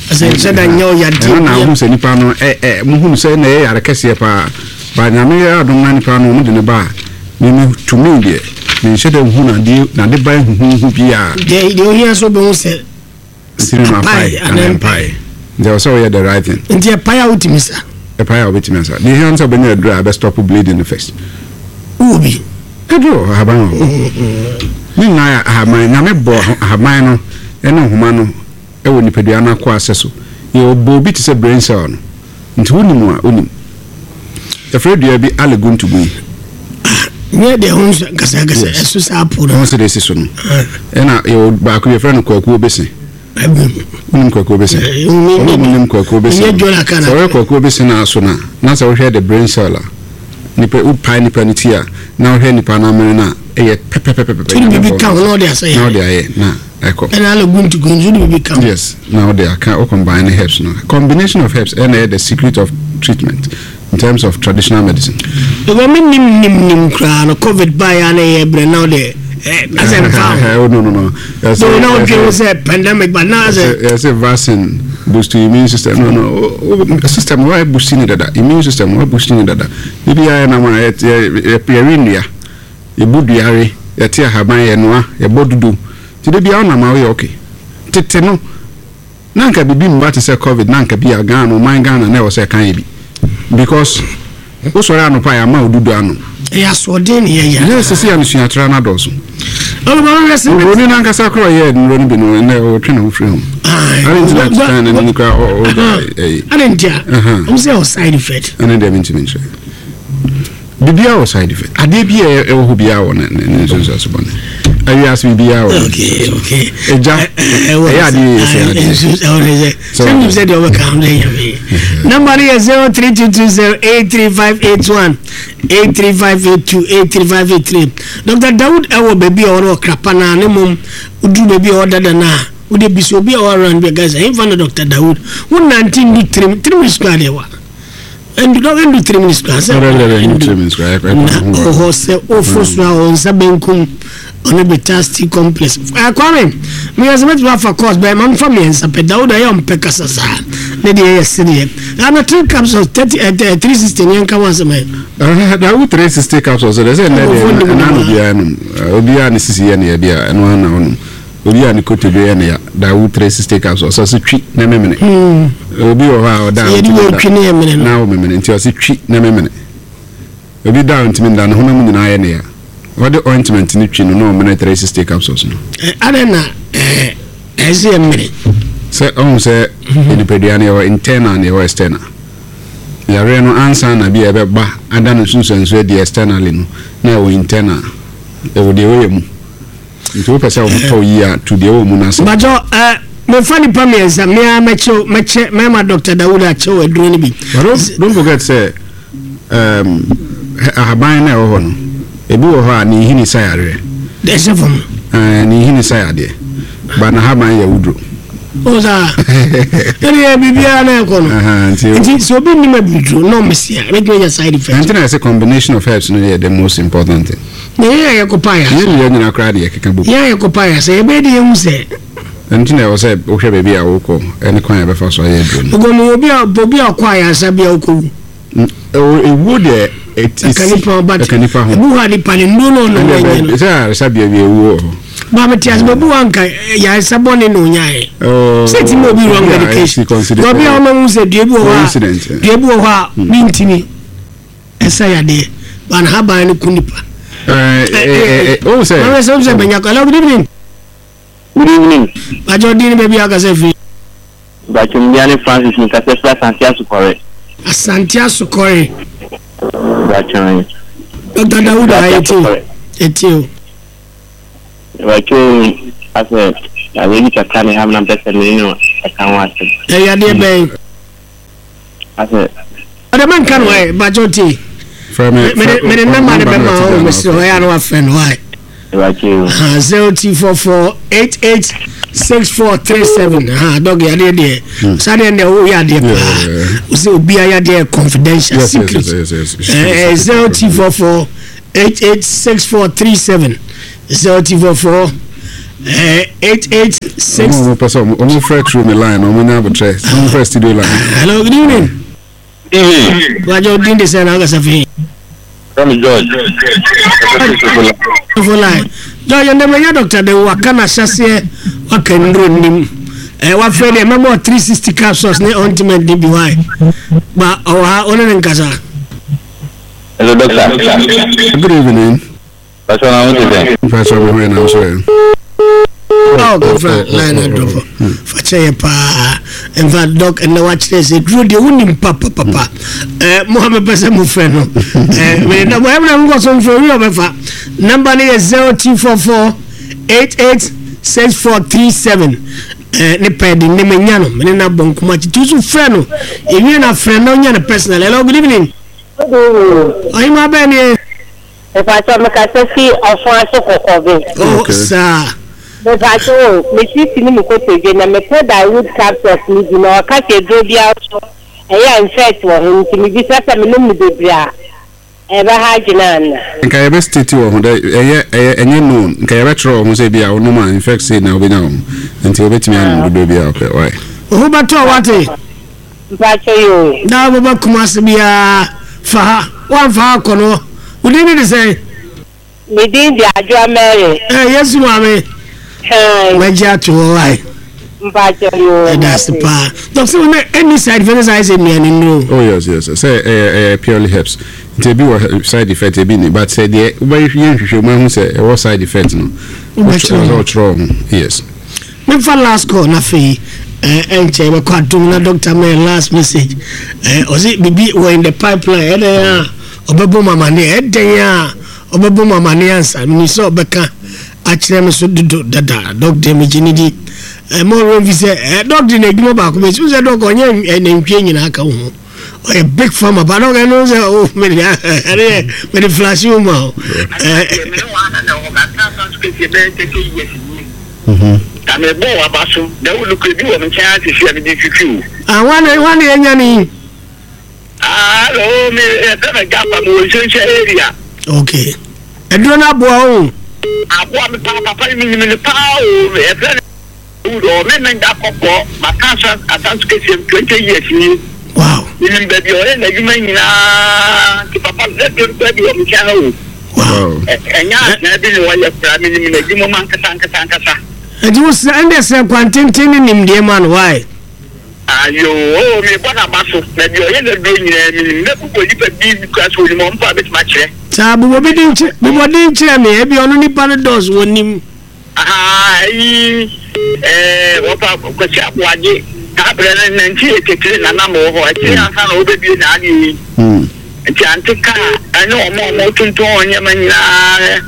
Ɛsɛ nhyɛ da nyɛ wo yadeɛ. Ɛno na wohu sɛ nipa no ɛ ɛ muhunu sɛ na ɛyɛ yare kɛseɛ paa. Ba Nyame yɛ adom na nipa no wɔn de ne ba a, me me tumi deɛ menhyɛ da nhu n'adeɛ n'ade ba huhuhu biara. Deɛ deɛ ohia sɛ wobɛhu sɛ sini no apae anaa ɛmpae. Nti ɛwɔ sɛ woyɛ the right thing. Nti ɛpae a wotumi sa? Ɛpae a wobɛtumi asa. Deɛ ehia ne sɛ wobɛnya aduro a ɛbɛ stop bleeding no first. Wowɔ bi? Aduro wɔ hɔ, ahaban wɔ hɔ. Ne nyinaa yɛ ahaban. Nyame bɔɔ ahaban no ne nhoma no wɔ nipadua no akoa sɛso. Yɛ ɔbɔɔ bi te sɛ brain cell no. Nti wonim a, wonim. Yɛfrɛ dua bi aleguntugui. Ah, nyɛ deɛ ho nso nkasakasa ɛso saa po no. Ho sɛ deɛ ɛsi so no. Ɛna yɛwɔ baako yɛfrɛ no kwakuo bese. Wonim kwakuo bese? Ɔno ɔmo nim kwakuo bese. Sɛ wɔyɛ kwakuo bese no aso no a, na sɛ wohwɛ the brain cell a, nipa wopae nipa no ti a, na wohwɛ nipa no amene no a, ɛyɛ pɛpɛpɛpɛpɛ. Wode biribi ka ho na wode asɛ yare. Na wode ayɛ na ɛkɔ. Ɛna aleguntugui nso wode biribi ka ho. Yes, na wode aka wo combine ne herbs no. Combination of herbs ɛna ɛyɛ the secret of treatment in terms of traditional medicine. Because me nim nim nim koraa no covid ba ya na yɛ brɛ na ɔde asɛ nfa ho. Oh no no no. So na ɔdwe ho sɛ pandemic but na asɛ. Yɛ sɛ vaccine boost to immune system no no system wa boost ni dada, immune system wa boost ni dada. Bibi ayɛ na ma yɛ yɛ yɛ nnua, yɛbu duare, yɛte ahaban, yɛnoa, yɛbɔ dudu. Ti de bia ɔnam a woyɛ okay. Tete no na nka bibi mba te sɛ covid, na nka bi a Ghana, ɔman Ghana, na ɛwɔ sɛ ɛka yɛ bi because wosɔre anɔpa a yɛama wo dudu ano. Ɛyɛ asoɔden ne yɛyɛ. Yɛ sisi a mesuatra no adɔɔso. Ɔbɛma sɛ oburoni no ankasa koraa ɔyɛɛ nnuro no bi no, ɛnɛ ɔtwe ne ho firi ho. Ade nti na China no ni koraa ɔgya ɛyi. Ade nti a ɔmo sɛ ɔ side effect. Ɛne deɛ mentumi nkyerɛ. Biribiara wɔ side effect. Adeɛ bi a ɛwɔ hɔ biara wɔ ne ne nsunsuanso bɔne. Awiase biribiara wɔ ne Okay, okay. Ɛgya ɛyɛ adeɛ yɛ sɛ adeɛ. Sɛ nim sɛ deɛ ɔbɛka ho dɛ nyame. Number no yɛ zero three two two zero eight three five eight one, eight three five eight two, eight three five eight three. Doctor Dawood ɛwɔ baabi a ɔwɔ Ɔkrapa naa ne mom woduru baabi a ɔwɔ dada naa wode bisa obi a ɔwɔ around bi a guys ɛmfa no Doctor Dawood wo nante ndu three three minutes koraa deɛ wa ndu ndu three minutes koraa sɛ na ɔhɔ sɛ wofo so a ɔwɔ nsa benkum ɔne Betasti complex. Kwame meyɛ sɛ mɛtumi afa course bɛyɛ ma mfa mmiɛnsa pɛ. Dawood ɛyɛ ɔmpɛ kasa saa ne deɛ yɛ sedeɛ ana three capsules thirty three sixty ne yɛnka ho asɛm ɛ. Dawood three sixty capsules deɛ sɛ nnɛ deɛ ɛna no biara nom obiara ne sisi yɛ ne yɛ deɛ ɛno ana ɔnom obiara ne kotodwe yɛ ne ya. Dawood three sixty capsules ɔsɛ twi na memene. Obi wɔ hɔ a ɔda a ɔntumi nda na ɔmemene nti ɔsɛ twi na memene. Obi da a ɔntumi nda ne honam nyinaa yɛ ne ya, ɔde ointment ne twi no na ɔmene three sixty capsules no. Adɛn na ɛsɛ yɛ mene? Sɛ ɔhu sɛ nipadua no yɛwɔ internal na yɛwɔ external. Yareɛ no ansa na bi a ɛbɛba ada no nsunsuanso adi externally no, na ɛwɔ internal, ɛwɔ deɛ ɛwɔ yɛ mu. Nti wopɛ sɛ wotɔ yi a to deɛ ɛwɔ mu no ase. Bàjọ́ ɛ mefa nipa mmiɛnsa mmea mɛkyɛw mɛkyɛ mɛma Doctor Dawood akyɛw aduro no bi. But don't, don't forget sɛ um, ahaban na ɛwɔ hɔ no, ebi wɔ hɔ a ne nhini sa yareɛ. Ɛhyɛ fam. Ɛɛ ne nhini sa yadeɛ, ba n'ahaban yɛ wuduro. O saa ɛne yɛ biribiara na ɛkɔ no. Nti sɛ obi nim abiduro na ɔmesi a ɛbɛtumi anya side effect. Ɛnti na yɛsɛ combination of herbs no yɛ the most important thing. Na yɛn a yɛkɔpa yɛ yɛn nyinaa nyinaa koraa de yɛkeka bom. Yɛn a yɛkɔpa yɛ sɛ yɛbɛyɛ de yɛhu sɛ. Ɛnti na ɛwɔ sɛ wohwɛ baabi a wokɔ ɛne kwan a yɛbɛfa so ayɛ aduro no. Ɔgɔmi obi a obi a ɔkɔ ayaresa bi a ɔkɔwu. Ewuo deɛ ɛka nipa ho but ɛka nipa ho. Ebu hɔ a nipa ne nnuro na ɔnom ɛnyɛ no. Sɛ ayaresabea bi ewuo wɔ hɔ. Maame te ase baabi wɔ anka yaresa bɔne na onyaeɛ. Sɛ ti ma obi wrong medication. Na obi a ɔma hu sɛ dua bi wɔ hɔ a dua bi wɔ hɔ a bi ntumi ɛsa yadeɛ ba na haban no ku nipa. Ɛɛ ɛɛ sɛ. Maame sɛ sɛ bɛnya kɔ. Hello, good evening. Good evening. Bàjẹ́ ọdín ní baabi a ɔkasa firi. Bàjẹ́ mi ní Francis mi kasa firi Asante Asokɔre. Asante Asokɔre. Bàjẹ́. Doctor Dawood a yɛ ti eti o. Bàjẹ́ asɛ yadeɛ bi kakra ne ha mi na mpɛ sɛ mi ne ɛka ho asɛm. Ɛ yadeɛ bɛn? Asɛ. Ɔdɛ mɛ nka no ɛ bàjẹ́ ti. Mɛ mɛ namba ne bɛ ma o mɛ siri hɔ yɛ ano afɛ no ayɛ. Bàjẹ́ o. Zero two four four eight eight six four three seven. Ha, Doc, yadeɛ deɛ saa deɛ deɛ woyɛ adeɛ paa. Yeah. Wo sɛ obiara yadeɛ yɛ confidential, Yes, yes, secret. yes, yes, yes. Eh, zero two four four eight eight six four three seven, zero two four four eight eight six. Ɔmo a ɔmo pɛ sɛ ɔmo ɔmo frɛ through me line, ɔmo nya abotire, ɔmo frɛ studio line. Hello, good evening. Evening. Wájú dín de sẹ́ náà kasa fi. From George. For line George, ndɛmɛ nya doctor de waka na ahyɛseɛ waka nduro nim ɛ wafɛ deɛ mɛmɔ three sixty capsules ne ointment ne bi wae ba ɔwɔ ha, ɔne ne nkasa. Hello, doctor. Good evening. Pastor, I want to say. Mpɛ mi ho yɛ nam so yɛ. Ɔ kɔfra line adɔfo fakyɛ yɛ paa. In fact, Doc, ɛnɛ wakyerɛ sɛ duro deɛ wonim papapapa. Ɛ mo ha mepɛ sɛ mofrɛ no ɛ mede da mo ɛmna mokɔ so mfrɛ wi ɔbɛfa number no yɛ zero two four four eight eight six four three seven. Ɛ ne pɛ de ne menya no mene na bɔ nkɔmɔ akyi tu so frɛ no ewie na frɛ na onya no personal. Hello, good evening. Ɔyima bɛɛ nie. Mepatɔ, mekasa fi ɔfo ase kɔkɔbe. Oh. Okay. Saa. Mepatɔ o, mesisi ne me kotodwe na mepɛ Dawood capsules ne bi na ɔka sɛ eduro biara so ɛyɛ infect wɔ ho, nti mebisa sɛ menom no bebree a ɛbɛha adwene ana? Nka yɛbɛ state wɔ ho dɛ ɛyɛ ɛyɛ ɛnyɛ known, nka yɛbɛtwerɛ wɔ ho sɛ bi a wonom a infect sei na wobɛnya wɔ ho, nti wobɛtumi anom dodoɔ bi a wopɛ wae. Wo bɛtɔ wate. Mpatɔ yi o. Na wobɛba Kumase biara fa ha, woamfa ha kɔ no wodin ne de sɛn? Me din de Adwoa Mary. Ɛ Yesu maame. Hi. Mɛgye ato hɔ wae. Mpatɔ yi o. Ɛda ase paa, Doc, sɛ wone any side effect sɛ ayɛ sɛ nnuane nnuro. Oh yes yes sɛ ɛyɛ ɛyɛ purely herbs, nti ebi wɔ side effect, ebi ni, but sɛ deɛ wobɛyɛ nhwehwɛ mu ahu sɛ ɛwɔ side effect no, Wobɛkyerɛ ɔkyerɛ ɔkyerɛ ho, yes. Memfa last call na afei ɛnkyɛ bɛkɔ adom na doctor mɛ last message. ɛ ɔse biribi wɔ in the pipeline, ɛdɛn a ɔbɛbɔ mu amane, ɛdɛn a ɔbɛbɔ mu amane ansa meni sɛ ɔbɛka akyerɛ me so dodo dada. Doc deɛ megye ne di ɛ ma ɔwerɛ mfi sɛ ɛ Doc de n'adwuma baako bɛsi wo sɛ Doc ɔnyɛ nantwie nyinaa ka wo ho, ɔyɛ big farmer ba Doc ɛno sɛ o mede ɛne yɛ mede flash wo ma o ɛ. Mene wa na wɔ maka asan so kɛseɛ bɛyɛ thirty years nie na mebɔ waba so na wolukura bi wɔ me nkyɛn ate si a mede twitwi o. Ah, wane wane ɛnya ne. Hello, me yɛfrɛ me Gapa, mewɔ Nhyɛnhyɛ area. Okay, ɛduro no aboa wo? Aboa me paa papa, menim no paa o. Yɛfrɛ no wudɔ me menda kɔkɔɔ maka asan asan so kɛseɛ twenty years nie. Wow. Menim baabi a ɔyɛ n'adwuma nyinaa, nti papa lɛduro no koraa bi wɔ me nkyɛn ha o. Wow. Ɛ- ɛnyɛ asena bi ne wɔyɛ koraa, menim n'adwuma mu ankasa ankasa ankasa. Ɛnti wo sɛ ɛnde sɛ kwantenten ne nimdeɛ ma no wae. Ayo o, mebɔ n'aba so, baabi a ɔyɛ n'aduro nyinaa menim, mɛbobɔ nipa bi kura so onim ɔmpo a bɛtumi akyerɛ. Saa bobɔ bi din kyerɛ, bobɔ din kyerɛ me, ebi ɔno nipa no dɔɔso wɔ nim. Aha ayi ɛɛ wɔfa Kwasi Aboagye saa berɛ no nineteen eighty three na nam wɔ hɔ akyire ansa na wɔbɛbie n'adeɛ yi, nti ante kaa ɛne ɔmo a ɔmo tontɔn nneɛma nyinaa,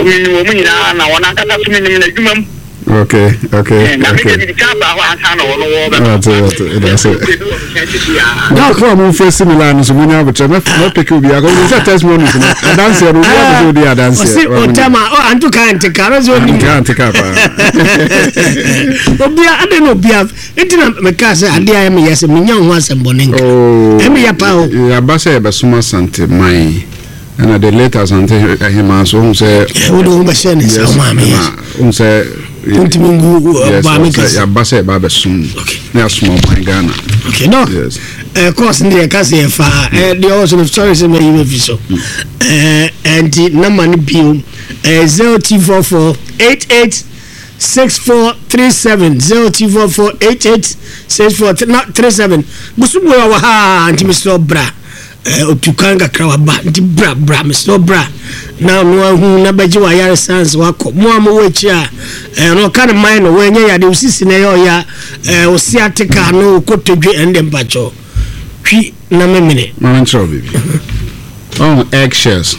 menim wɔn nyinaa na wɔn ankasa so menim n'adwuma mu. okay okay Na okay mede mede kaa baa hɔ ansa na ɔno wɔ Ate, ate, that's it. bi wɔ me nkyɛn sisi a. Dɔkɔ a momfrɛ si me line no so, monya abotrɛ mɛpeke obi akɔ sɛ testimonies no adanseɛ no, obi apɛ sɛ ɔdi adanseɛ. Ɔsi ɔtɛm a ɔ anto kaa nte kaa ɔsɛ onim. Nka ante kaa paa. Obia ade na obia nti na meka sɛ adeɛ a ɛmeyɛ sɛ menya wo ho asɛm bɔne nka ɛmeyɛ paa o. Yɛaba sɛ yɛbɛsom Asante man, ɛna the late Asante ahema so wohu sɛ wode wo ho bɛhyɛ ne nsa wo maame yɛ. Wohu sɛ wontumi ngu yes, maame sɛ kɛse. Yɛaba sɛ yɛba abɛsom Okay. na yɛasoma ɔman Ghana. Okay, no. Yes. uh, course ne deɛ ɛka sɛ yɛfa uh, deɛ ɔwɔ so no, sorry sɛ mayi mafi so. uh, nti number no bio uh, zero two four four eight eight six four three seven, zero two four four eight eight six four three seven. Bosoboe wɔ ha, nti mesrɛ bra. Otu kwan kakra waba, nti bra bra, mesrɛ bra na ɔno ahu na bɛgye wayare sans wakɔ. Mo a mowɔ akyi a ɛno ɔka ne man no wɔnyɛ yade osisi na ɛyɛ ɔya ɔsi ate kaa no okotodwe ɛne mpakyɛw twi na memene. Ma menkyerɛ wo biribi. Ɔhu egg shells?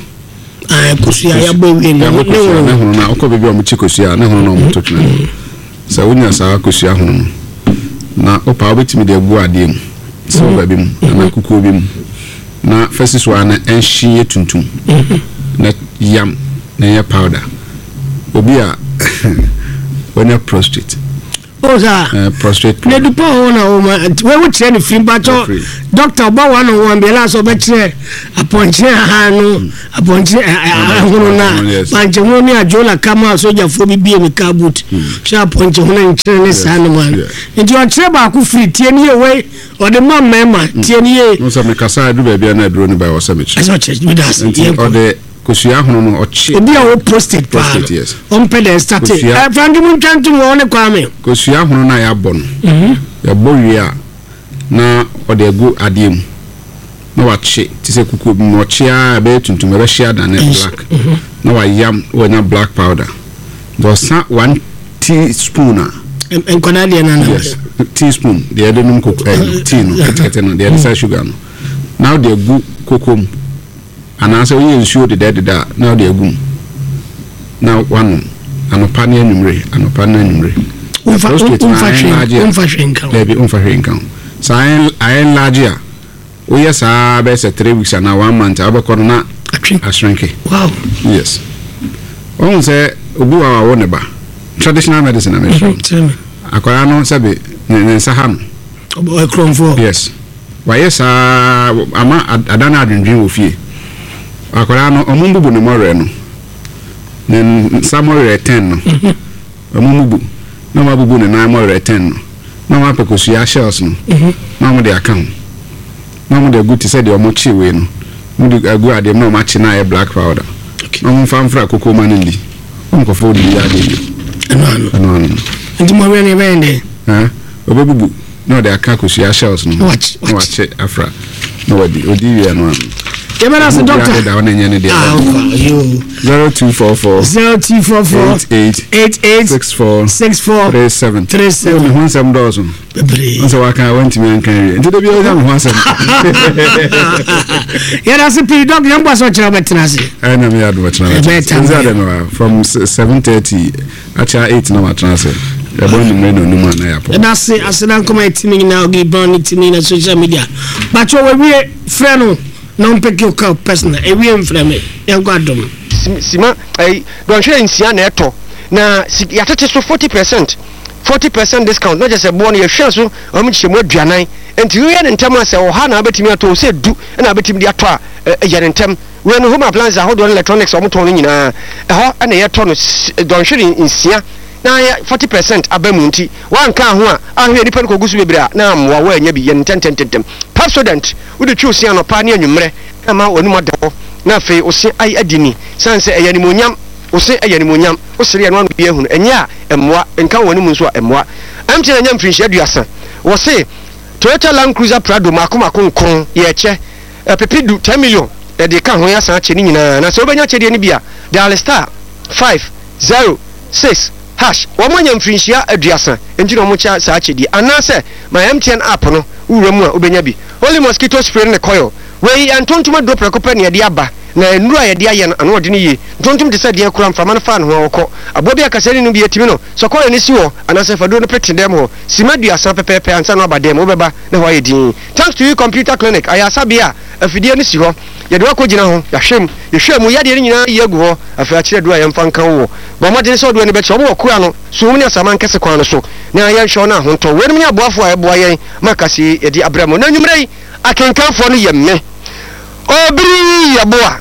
Kosua yɛabɔ awie no. Yɛabɔ kosua ne hono no a wokɔ baabi a ɔmokye kosua ne hono no a ɔmoto twene no, sɛ wonya saa kosua hono no na wopa, wobɛtumi de agu adeɛ mu, silver bi mu anaa kukuo bi mu, na fasi so a na ɛnhye yɛ tuntum na yam na ɛyɛ powder. Obi a wanya prostate O saa. Prostate. Ne dupa hɔ na wɔn ma wɔn wo kyerɛ ne firi mpatsɔ doctor ɔba wa no wɔn biara sɛ ɔbɛkyerɛ apɔnkyerɛ ahan no apɔnkyerɛ ahono na pankyɛhono ne adwola kama sogyafoɔ bi bie mi car boot hyɛ apɔnkyɛhono nkyerɛ ne saa no ma nti ɔkyerɛ baako firi tie ne yɛ wei ɔde ma mmarima tie ne yɛ. N sɛ mekasa adu baabi a na aduro no ba wɔ sɛ mekyerɛ. Ɛsɛ ɔkyerɛ mi da ase. Nti ɔde kosua ahono no ɔkye. Obi a wɔ prostate paa no ɔmpɛ dɛ starte ɛ franki mu ntwa ntom wɔ ne kwame. Kosua ahono no a yɛabɔ no yɛbɔ wie a na ɔde agu adeɛ mu na wakye te sɛ kukuo bi mu ɔkye a ɛbɛyɛ tuntum ɛbɛhye adane black na wayam wanya black powder nti ɔsa one teaspoon a nkwadaa deɛ nana yes teaspoon deɛ yɛde nom koko ɛ tea no ketekete no deɛ yɛde sa sugar no na ɔde agu koko mu anaasɛ woyɛ nsuo dedadeda a na ɔde agu mu na wanom anɔpa ne anwummere anɔpa ne anwummere. Womfa hwee nka ho. Dabi womfa hwee nka ho. Saa ayɛ nlaagye a woyɛ saa bɛyɛ sɛ three weeks anaa one month a wobɛkɔ no na ashrinke. Wow. Yes. Wɔn sɛ obi wa wawo ne ba traditional medicine na mehwɛ. Akwadaa no sɛbi ne ne nsa ha no. Ɛkurɔnfoɔ. Yes. Wayɛ saa ama ada no adwendwen wɔ fie. Akwadaa no ɔmo mbubu ne mɔwerɛ no. Ne nsa mɔwerɛ ten no. Ɔmo mbubu. Na ɔmo abubu ne nan mɔwerɛ ten no. Na ɔmo apɛ kosua shells no. Na ɔmo de aka ho. Na ɔmo de agu te sɛ deɛ ɔmo kye wei no. Ɔmo de agu adeɛ mu na ɔmo akye na ayɛ black powder. Na ɔmo mfa mfra koko ma no ndi. Ɔmo kɔfɔ odi bi adeɛ bi. Ɛno ano. Ɛno ano. Nti mɔwerɛ no ɛbɛyɛ dɛ? Ɛn ɔbɛbubu na ɔde aka kosua shells no. Na wakye afra. Na wadi odi wie ɛno ano. Yɛbɛda ase doctor. Zero two four four. Zero two four four. Eight eight. Eight eight. Six four. Six four. Three seven. Three seven. Mi ho nsɛm dɔɔso. Bebree. Nsɛ waka wantumi anka wie. Nti debi ɔnya mi ho asɛm. Yɛda ase pii dɔk yɛn bɔ asɔ kyerɛ ɔbɛtena ase. Ɛna mi yɛ adum ɔkyerɛ ɔbɛtena ase. Nti adum from seven thirty akyɛ eight na watena ase. Ɛbɔ nnumere na onum ana yɛ apɔ. Yɛda ase aseda nkɔmɔ yɛ timi nyinaa ogi brown ne timi na social media. Bàtchɛ wɔwie frɛ no. Na ɔmpɛ ki ɔka personal ewie mfrɛ me yɛnkɔ adom. Sima ɛyi dɔnhwere nsia na ɛtɔ na yɛatete so forty percent forty percent discount na kyerɛ sɛ boɔ no yɛhwɛ so wɔn kyekyɛ mu aduanan nti woyɛ ne ntɛm a sɛ ɔha na wobɛtumi atɔ o sɛ du na wobɛtumi de atɔ a yɛ ne ntɛm. Wei no home appliances ahodoɔ ne electronics a wɔtɔn no nyinaa ɛhɔ na yɛtɔ no dɔnhwere nsia na yɛ forty percent aba mu nti wanka ho a ahwɛ nipa no kɔgu so bebree a na amoa woanya bi yɛ ne ntɛntɛntɛntɛm. Pepsodent wode twi wo se anɔpa ne anwummerɛ na ma w'anum ada hɔ na afei wo se ayɛ adi ni sane sɛ ɛyɛ animuonyam wo se ɛyɛ animuonyam wo sere ɛno ano bi ahunu ɛnyɛ a ɛmmoa nka wɔ w'anum nso a ɛmmoa. M T N anya mfirinhyia aduasa wɔ se Toyota Land Cruiser Prado mako mako nkron yɛkyɛ ɛpepe du ten million yɛde ka ho yɛasan akyɛ ne nyinaa na sɛ wobɛnya kyɛdeɛ no bi a dial star five zero six hash wɔn anya mfirinhyia aduasa nti na wɔn kyɛ saa akyɛdeɛ anaasɛ my M T N app no wowura mu a wobɛnya bi. Holy mosquito spray ne coil wei ntontom aduro prɛko pɛ na yɛde aba na nnuro a yɛde ayɛ no ano ɔde no yie. Ntontom te sɛ deɛ kura mframa no fa ne ho a wɔkɔ aboa bi akasa ne no bi atumi no sɛ coil no si hɔ anaasɛ fa duro no pete dɛm hɔ sima aduasa pɛpɛɛpɛ ansa na aba dɛm wobɛba na hɔ ayɛ din. Thanks to you computer clinic ayɛ asabea a afidie no si hɔ yɛde wakɔ gyina ho yɛahwɛ mu yɛhwɛ mu yadeɛ no nyinaa yi agu hɔ afei akyerɛ duro a yɛmfa nka wo wɔ bɔ mmɔden sɛ ɔdoɔ no bɛkyerɛ wɔn wɔ kura no so wɔn ne asaman kɛse kwan no so na yɛnhwɛ no ahontɔ weinom ne aboafoɔ a ɛboa yɛn ma kase yɛde abrɛ mu na nwummerɛ yi akenkanfoɔ no yɛ me obiri yɛboa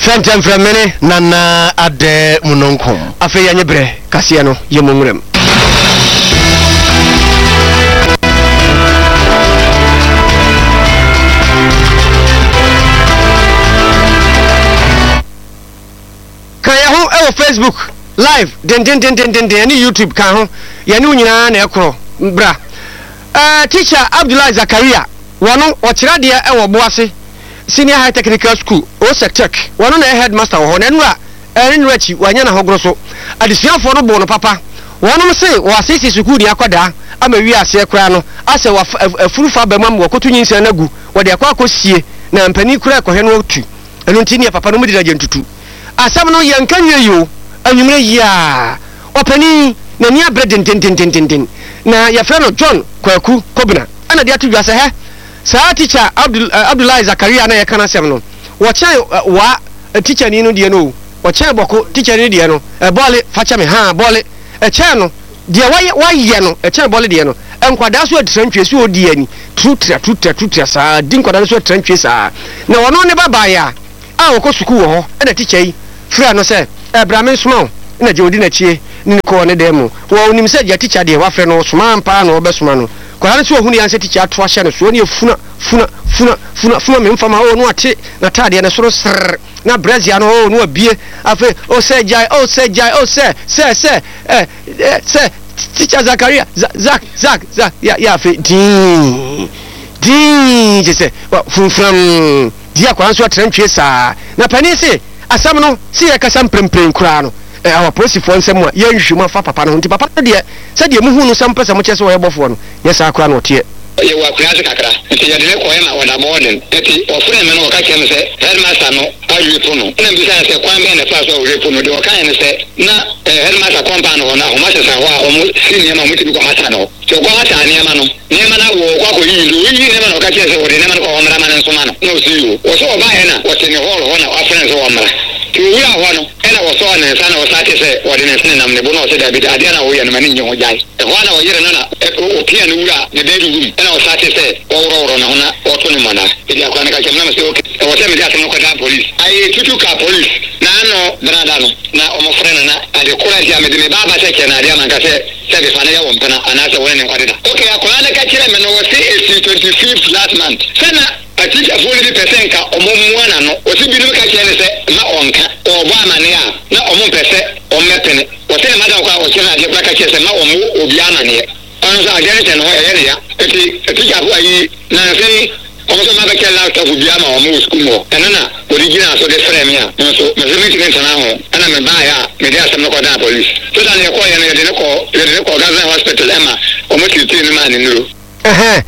fɛntɛmfrɛmene Nana Ade Munonkom. Afei yɛnyɛ berɛ kaseɛ no yɛ mu nwuram. Ka yɛ ho ɛwɔ Facebook live dendendendenden ne YouTube ka ho yɛne wo nyinaa na ɛkorɔ bra. Uh, teacher Abdullahi Zakaria wɔno ɔkyerɛ adeɛ ɛwɔ Boase Senior High Technical School Osec Tech wɔno na headmaster wɔ hɔ na nnura ɛne nnura akyi wanya na hɔgoro so adesuafoɔ no bɔ no papa wɔnom se wɔasiesie sukuu ni akɔdaa ama wi aseɛ koraa no asɛ afuru fa ba mu ama wɔkɔto nyinsɛn no agu wɔde akɔ akɔsie na mpanin koraa ɛkɔhwɛ no atu ɛno nti neɛ papa no mu de nagye ntutu asɛm no yɛnka nwie yi o anwummerɛ yi a ɔpanin n'ani abere dendendendenden na yɛfrɛ no John Kwaku Kobena ɛna de ato dwa sɛ hɛ saa teacher Abdul uh, Abdullahi Zakaria na yɛka n'asɛm no wɔkyɛn uh, wa teacher ni no deɛ no o wɔkyɛn bɔko teacher ni deɛ no ɛbɔɔle fakyɛ me ha bɔɔle Ɛkyɛn no deɛ wayɛ wayɛ no ɛkyɛn bɔle deɛ no nkwadaa so atira ntwie so ɔdi ani turutura turutura turutura saa di nkwadaa no so atira ntwie saa na ɔno ne ba baeɛ a a ɔkɔ sukuu wɔ hɔ ɛna tikya yi frɛ no sɛ ɛbra me nsoma wo ɛna gye ɔdi n'akyie ne ne kɔɔ ne dan mu wɔ onim sɛ gya tikya deɛ wafrɛ no ɔsoma ampa na ɔbɛsoma no kwadaa no so ɔhunu yɛn sɛ tikya ato ahyɛ no soɔ ne efuna funa funa funa funa me mfama o no ate n'ataadeɛ no soro srrr na brɛzia no o no abie afei o sɛ gyae o sɛ gyae o sɛ sɛ sɛ ɛ ɛ sɛ tikya Zakaria Zak Zak Zak ya ya afei dii dii kyɛ sɛ funfunam di akwadaa nso atena ntwie saa na panin se asɛm no si yɛ kasa mprempren koraa no ɛ awɔ apolisifoɔ nsɛm a yɛnhwehwɛ mu afa papa no ho nti papa no deɛ sɛdeɛ muhu no sɛ mpɛ sɛ mokyerɛ sɛ ɔyɛ bɔfoɔ no nyɛ saa koraa na ɔteɛ. Yɛwɔ akonnwa ase kakra nti yɛde ne kɔɛ ma ɔda bɔɔden nti ɔfrɛ me no ɔka kyerɛ me sɛ headmaster no awepo no ɛna mbisa no sɛ kwan bɛn na ɛfa so a ɔwepo no deɛ ɔkaeɛ no sɛ na headmaster compound hɔ no ahoma sesa hɔ a ɔmo si nneɛma a ɔmo tumi kɔ hata no nti ɔkɔ hata nneɛma no nneɛma no awɔ ɔkɔ akɔyiyi nti ɔyiyi nneɛma na ɔka kyerɛ sɛ ɔde nneɛma no kɔ ɔmmra ma no nsoma no na ɔsi yi o wɔ sɛ ɔbaeɛ na ɔte ne hall hɔ na wafrɛ no sɛ ɔmmra nti owura hɔ no ɛna wɔsɔɔ ne nsa na ɔsate sɛ ɔde ne nsa nenam ne bo na ɔsɛ dabi adeɛ na ɔyɛ no ma ne nye ho gyae ɛhɔ a na ɔyere no na ɔpia no wura ne bedroom ɛna ɔsate sɛ ɔworɔworɔ ne ho na ɔto ne mmɔna ɛdi akora no ka kyerɛ me na me sɛ okay ɛwɔ sɛ mede asɛm no kɔdaa police ayɛ tutu ka police na ano benada no na ɔmofrɛ no na ade kora nti a mede me baaba sɛ kyɛ no adeɛ ama nka sɛ sɛ befa no yɛ wɔ mpena anaasɛ wɔne ne nkɔdeda okay akora no ka kyerɛ me no wɔse ɛsi twenty fifth last month sɛ na atikyafoɔ no bi pɛ sɛ nka ɔmo mmoa n'ano wɔsi binom ka kyerɛ no sɛ ma ɔnka ɔbɔ amane a na ɔmo mpɛ sɛ ɔmmɛpene wɔsɛ ne madam kɔ a ɔkyerɛ no adeɛ kora ka kyerɛ sɛ ma ɔmo obi amaneɛ ɔno nso adeɛ no hyɛ ne ho ɛyɛ ne ya nti atikyafoɔ ayi nansa yi ɔmo nso ma bɛkyɛ laptop bi ama ɔmo wɔ sukuu mu hɔ ɛno na wɔde gyina so de frɛ me a nso mese mentumi ntena ho ɛna mebaeɛ a mede asɛm no kɔdaa police so da ne yɛkɔɔyɛ no yɛde ne kɔ yɛde ne kɔ government hospital ɛma ɔmo tiritiri no maa ne nnuro. Ɛhɛn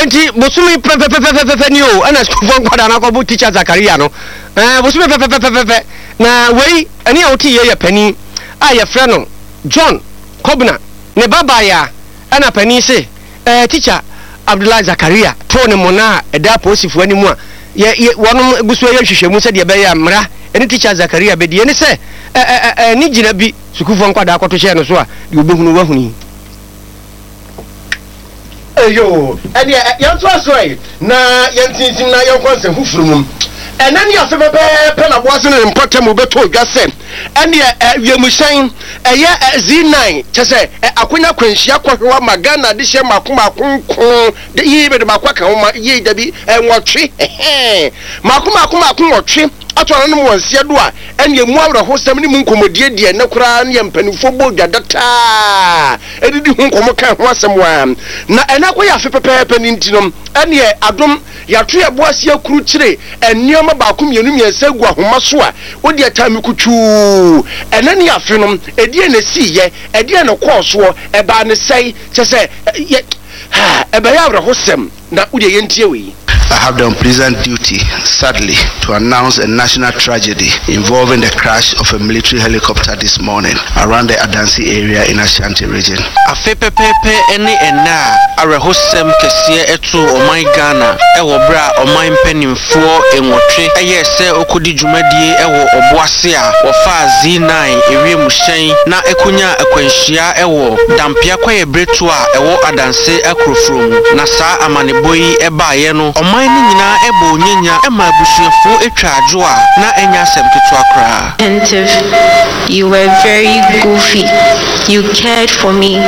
nti bosomi pɛpɛpɛpɛpɛ ni o ɛna sukuufoɔ nkwadaa no akɔbo teacher Zakaria no ɛɛ bosomi pɛpɛpɛpɛpɛ na wei ɛne a wote yɛ yɛ panin a yɛfrɛ no John Kobna ne ba baeɛ ɛna panin se ɛɛ teacher Abdullahi Zakaria too ne mona a ɛda apolisifoɔ anim a yɛ yɛ wɔnom gu so yɛ nhwehwɛmu sɛdeɛ ɛbɛyɛ a mmara ɛne teacher Zakaria bɛdi ɛne sɛ ɛ ɛ ɛ ne gyina bi sukuufoɔ nkwadaa akɔto hyɛɛ no so a deɛ obɛhunu wahunu yi. Eyo, ɛneɛ yɛnto aso ɛ na yɛntintim na yɛnkɔ nsɛm foforɔ mu. Ɛnɛ ne afe pɛpɛɛpɛ na boase ne ne mpɔtam wobɛtɔ dwa sɛ ɛneɛ wiemhyɛn ɛyɛ Z nine kyɛ sɛ akonya kwanhyia kɔhwewa ma Ghana de hyɛ mako mako nko de yi bɛde baako aka ho ma yie dabi nwɔtwe ɛhɛn mako mako mako nwɔtwe ato ananom wɔn nseɛ do a ɛneɛ mu awerɛhosɛm ne mu nkɔmmɔdie deɛ ne koraa ne yɛ mpanimfoɔ bɔ dwa dataa ɛdidi ho nkɔmmɔ ka ho asɛm waa na ɛna akɔyɛ afe pɛpɛɛpɛ ne nti no ɛneɛ adom yɛato yɛ bo ase akuru kyere nneɛma baako mmienu mmiɛnsa gu ahoma so a wode ɛtaa mi kutuu ɛnɛ ne afe no ɛdeɛ na ɛsiiyɛ ɛdeɛ na kɔɔ soɔ ɛbaa ne sɛe kyɛ sɛ yɛ ha ɛbɛyɛ awerɛhosɛm na wode yɛntie wei. I have the unpleasant duty, sadly, to announce a national tragedy involving the crash of a military helicopter this morning around the Adansi area in Ashanti region. Afe pɛpɛɛpɛ ne ɛnna a awerɛhosɛm kɛseɛ ɛto ɔman Ghana ɛwɔ berɛ a ɔman mpanimfoɔ nwɔtwe ɛyɛɛ sɛ ɔkɔdi dwumadie ɛwɔ Ɔboase a wɔfaa Z nine ewiemhyɛn na ɛkɔnya akwanhyia ɛwɔ Dampea Kwaeɛ Bereto a ɛwɔ Adanse akurofuro mu. Na saa amanebɔ yi ɛbaeɛ no ɔman no nyinaa ɛbɔ onyanya ɛma abusuafoɔ atwa adwo a na ɛnyɛ asɛm ketewa koraa. Attentive. You were very goofy. You cared for me.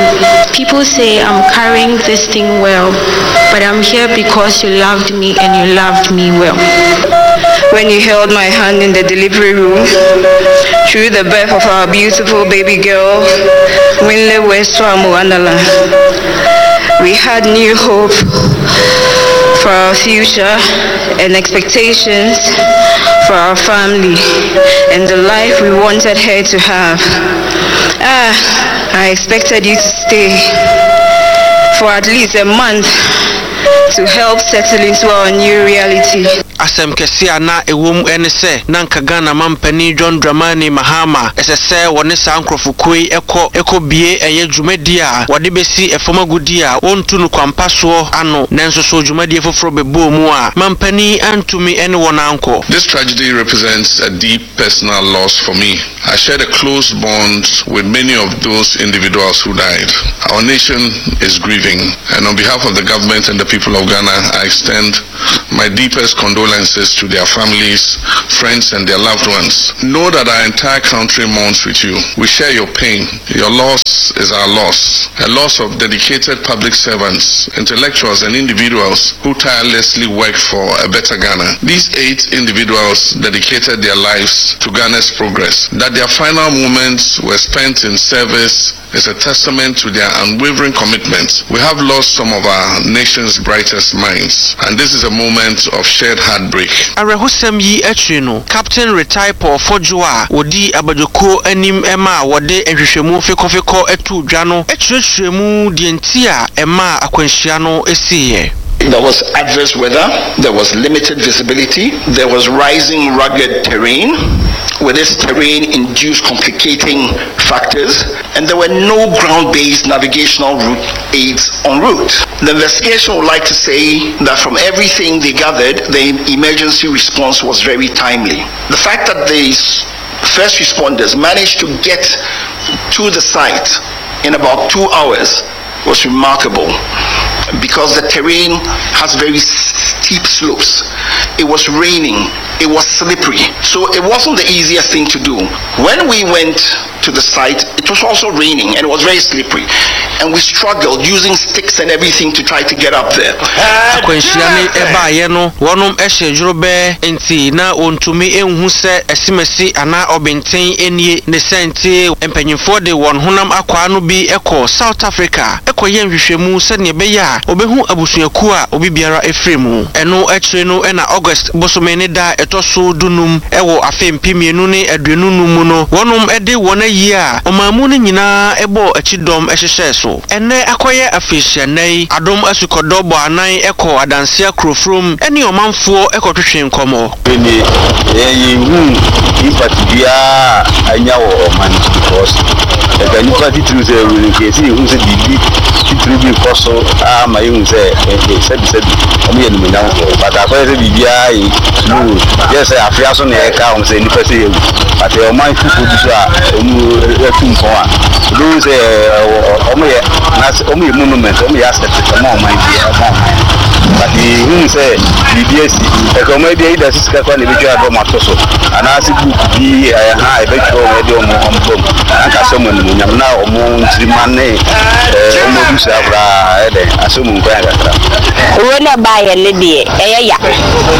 People say I'm carrying this thing well, but I'm here because you loved me and you loved me well. When you held my hand in the delivery room, through the birth of our beautiful baby girl, Winle Westwamu Andala, we had new hope for our future and expectations for our family and the life we wanted her to have. Ah, I expected you to stay for at least a month to help settle into our new reality. Asɛm kɛse a na ɛwɔ mu ne sɛ na nka Ghana mampanin John Dramani Mahama ɛsɛ sɛ wɔne saa nkurɔfokuo yi ɛkɔ ɛkɔbie ɛyɛ dwumadi a wɔde bɛsi ɛfam agudi a wɔntu no kwampa soɔ ano, nanso so dwumadie foforɔ bɛbɔɔ mu a mampanin antumi ne wɔn ankɔ. This tragedy represents a deep personal loss for me. I shared a close bond with many of those individuals who died. Our nation is grieving, and on behalf of the government and the people of Ghana, I extend my deepest condolences to their families, friends, and their loved ones. Know that our entire country mourns with you. We share your pain. Your loss is our loss. A loss of dedicated public servants, intellectuals, and individuals who tirelessly work for a better Ghana. These eight individuals dedicated their lives to Ghana's progress. That their final moments were spent in service is a testament to their unwavering commitment. We have lost some of our nation's brightest minds, and this is a moment of shared heartbreak. Awerɛhosɛm yi akyiri no, Captain retired Paul Fordjour a wɔdi abadwokuo anim ma a wɔde nhwehwɛmu fekɔfekɔ atu dwa no akyerɛkyerɛ mu deɛ nti a ɛma akwanhyia no siiɛ. There was adverse weather, there was limited visibility, there was rising rugged terrain, with this terrain induced complicating factors, and there were no ground-based navigational route aids en route. The investigation would like to say that from everything they gathered, the emergency response was very timely. The fact that these first responders managed to get to the site in about two hours was remarkable because the terrain has very steep slopes. It was raining, it was slippery, so it wasn't the easiest thing to do. When we went to the site, it was also raining and it was very slippery, and we struggled using sticks and everything to try to get up there. Akwanhyia ne ɛbaayɛ no, wɔnom ɛhyɛ dworobɛɛ nti na wɔntumi nhu sɛ ɛsimasi anaa ɔbɛnten nie ne sɛ nti mpanyinfoɔ de wɔn honam akwaa no bi ɛkɔ South Africa ɛkɔyɛ nhwehwɛmu sɛnea ɛbɛyɛ a wɔbɛhu abusuakuo a obi biara efiri mu. Ɛno akyire no, ɛna August bosome ne da ɛtɔ so dunum ɛwɔ afe mpem mmienu ne aduonu num mu no, wɔnom ɛde wɔn ayi a ɔman mu no nyinaa ɛbɔ akyi dɔm ɛhyehyɛ so. Ɛnɛ akɔyɛ afehyia yi, Adom Asukɔdɔ bɔ anan ɛkɔ Adanseɛ kurofurom ɛne ɔmanfoɔ ɛkɔtwetwe nkɔmmɔ. Ne yɛhu impact biara anya wɔ ɔman no, because ɛka nipa titiriw sɛ ɛwu no, nka yɛsi yɛhu sɛ biribi titiriw bi kɔ so ama yɛhu sɛ sɛbisɛbi ɔmo yɛ nimonyamfoɔ, but akɔyɛ sɛ biribiara yɛ slow, yɛ sɛ afea so na yɛka wɔn sɛ nipa sɛ yɛwu, but ɔman foforɔ bi so a ɔmo atu mpɔn a ebi sɛ ɔmo yɛ ɔmo yɛ monument, ɔmo yɛ asset ɔmo ɔman bi ɔmo ɔman, but yɛhu sɛ biribi asi ɛka ɔmo bi ayi da sika kora na ebɛtwa adɔ ɔmo ato so anaasɛ book bi ɛyɛ ha ebɛtwerɛ ɔmo ɛde ɔmo ɔmo bam anka sɛ ɔmo animonyam na ɔmo nkyirima ne ɛɛ ɔmo abusua koraa ɛdɛ asɛ ɔmo nkwan kakra. Owó náà baayɛ ne deɛ, ɛyɛ ya,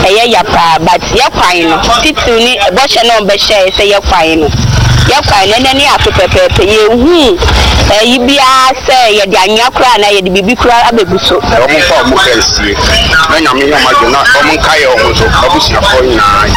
ɛyɛ ya paa, but yɛ kwan no titiriw ne bɔhyɛ náà ɔbɛhyɛ sɛ yɛ kwan no yɛ kwan no ɛnɛ ne ato pɛpɛɛpɛ, yɛhu ɛyi biara sɛ yɛde anwea koraa na yɛde biribi koraa abɛgu so. Ɔmo mfa ɔmo kra nsie na Nyame nyɛ ɔmo adwo na ɔmo nkaeɛ ɔmo nso abusuafoɔ nyinaa.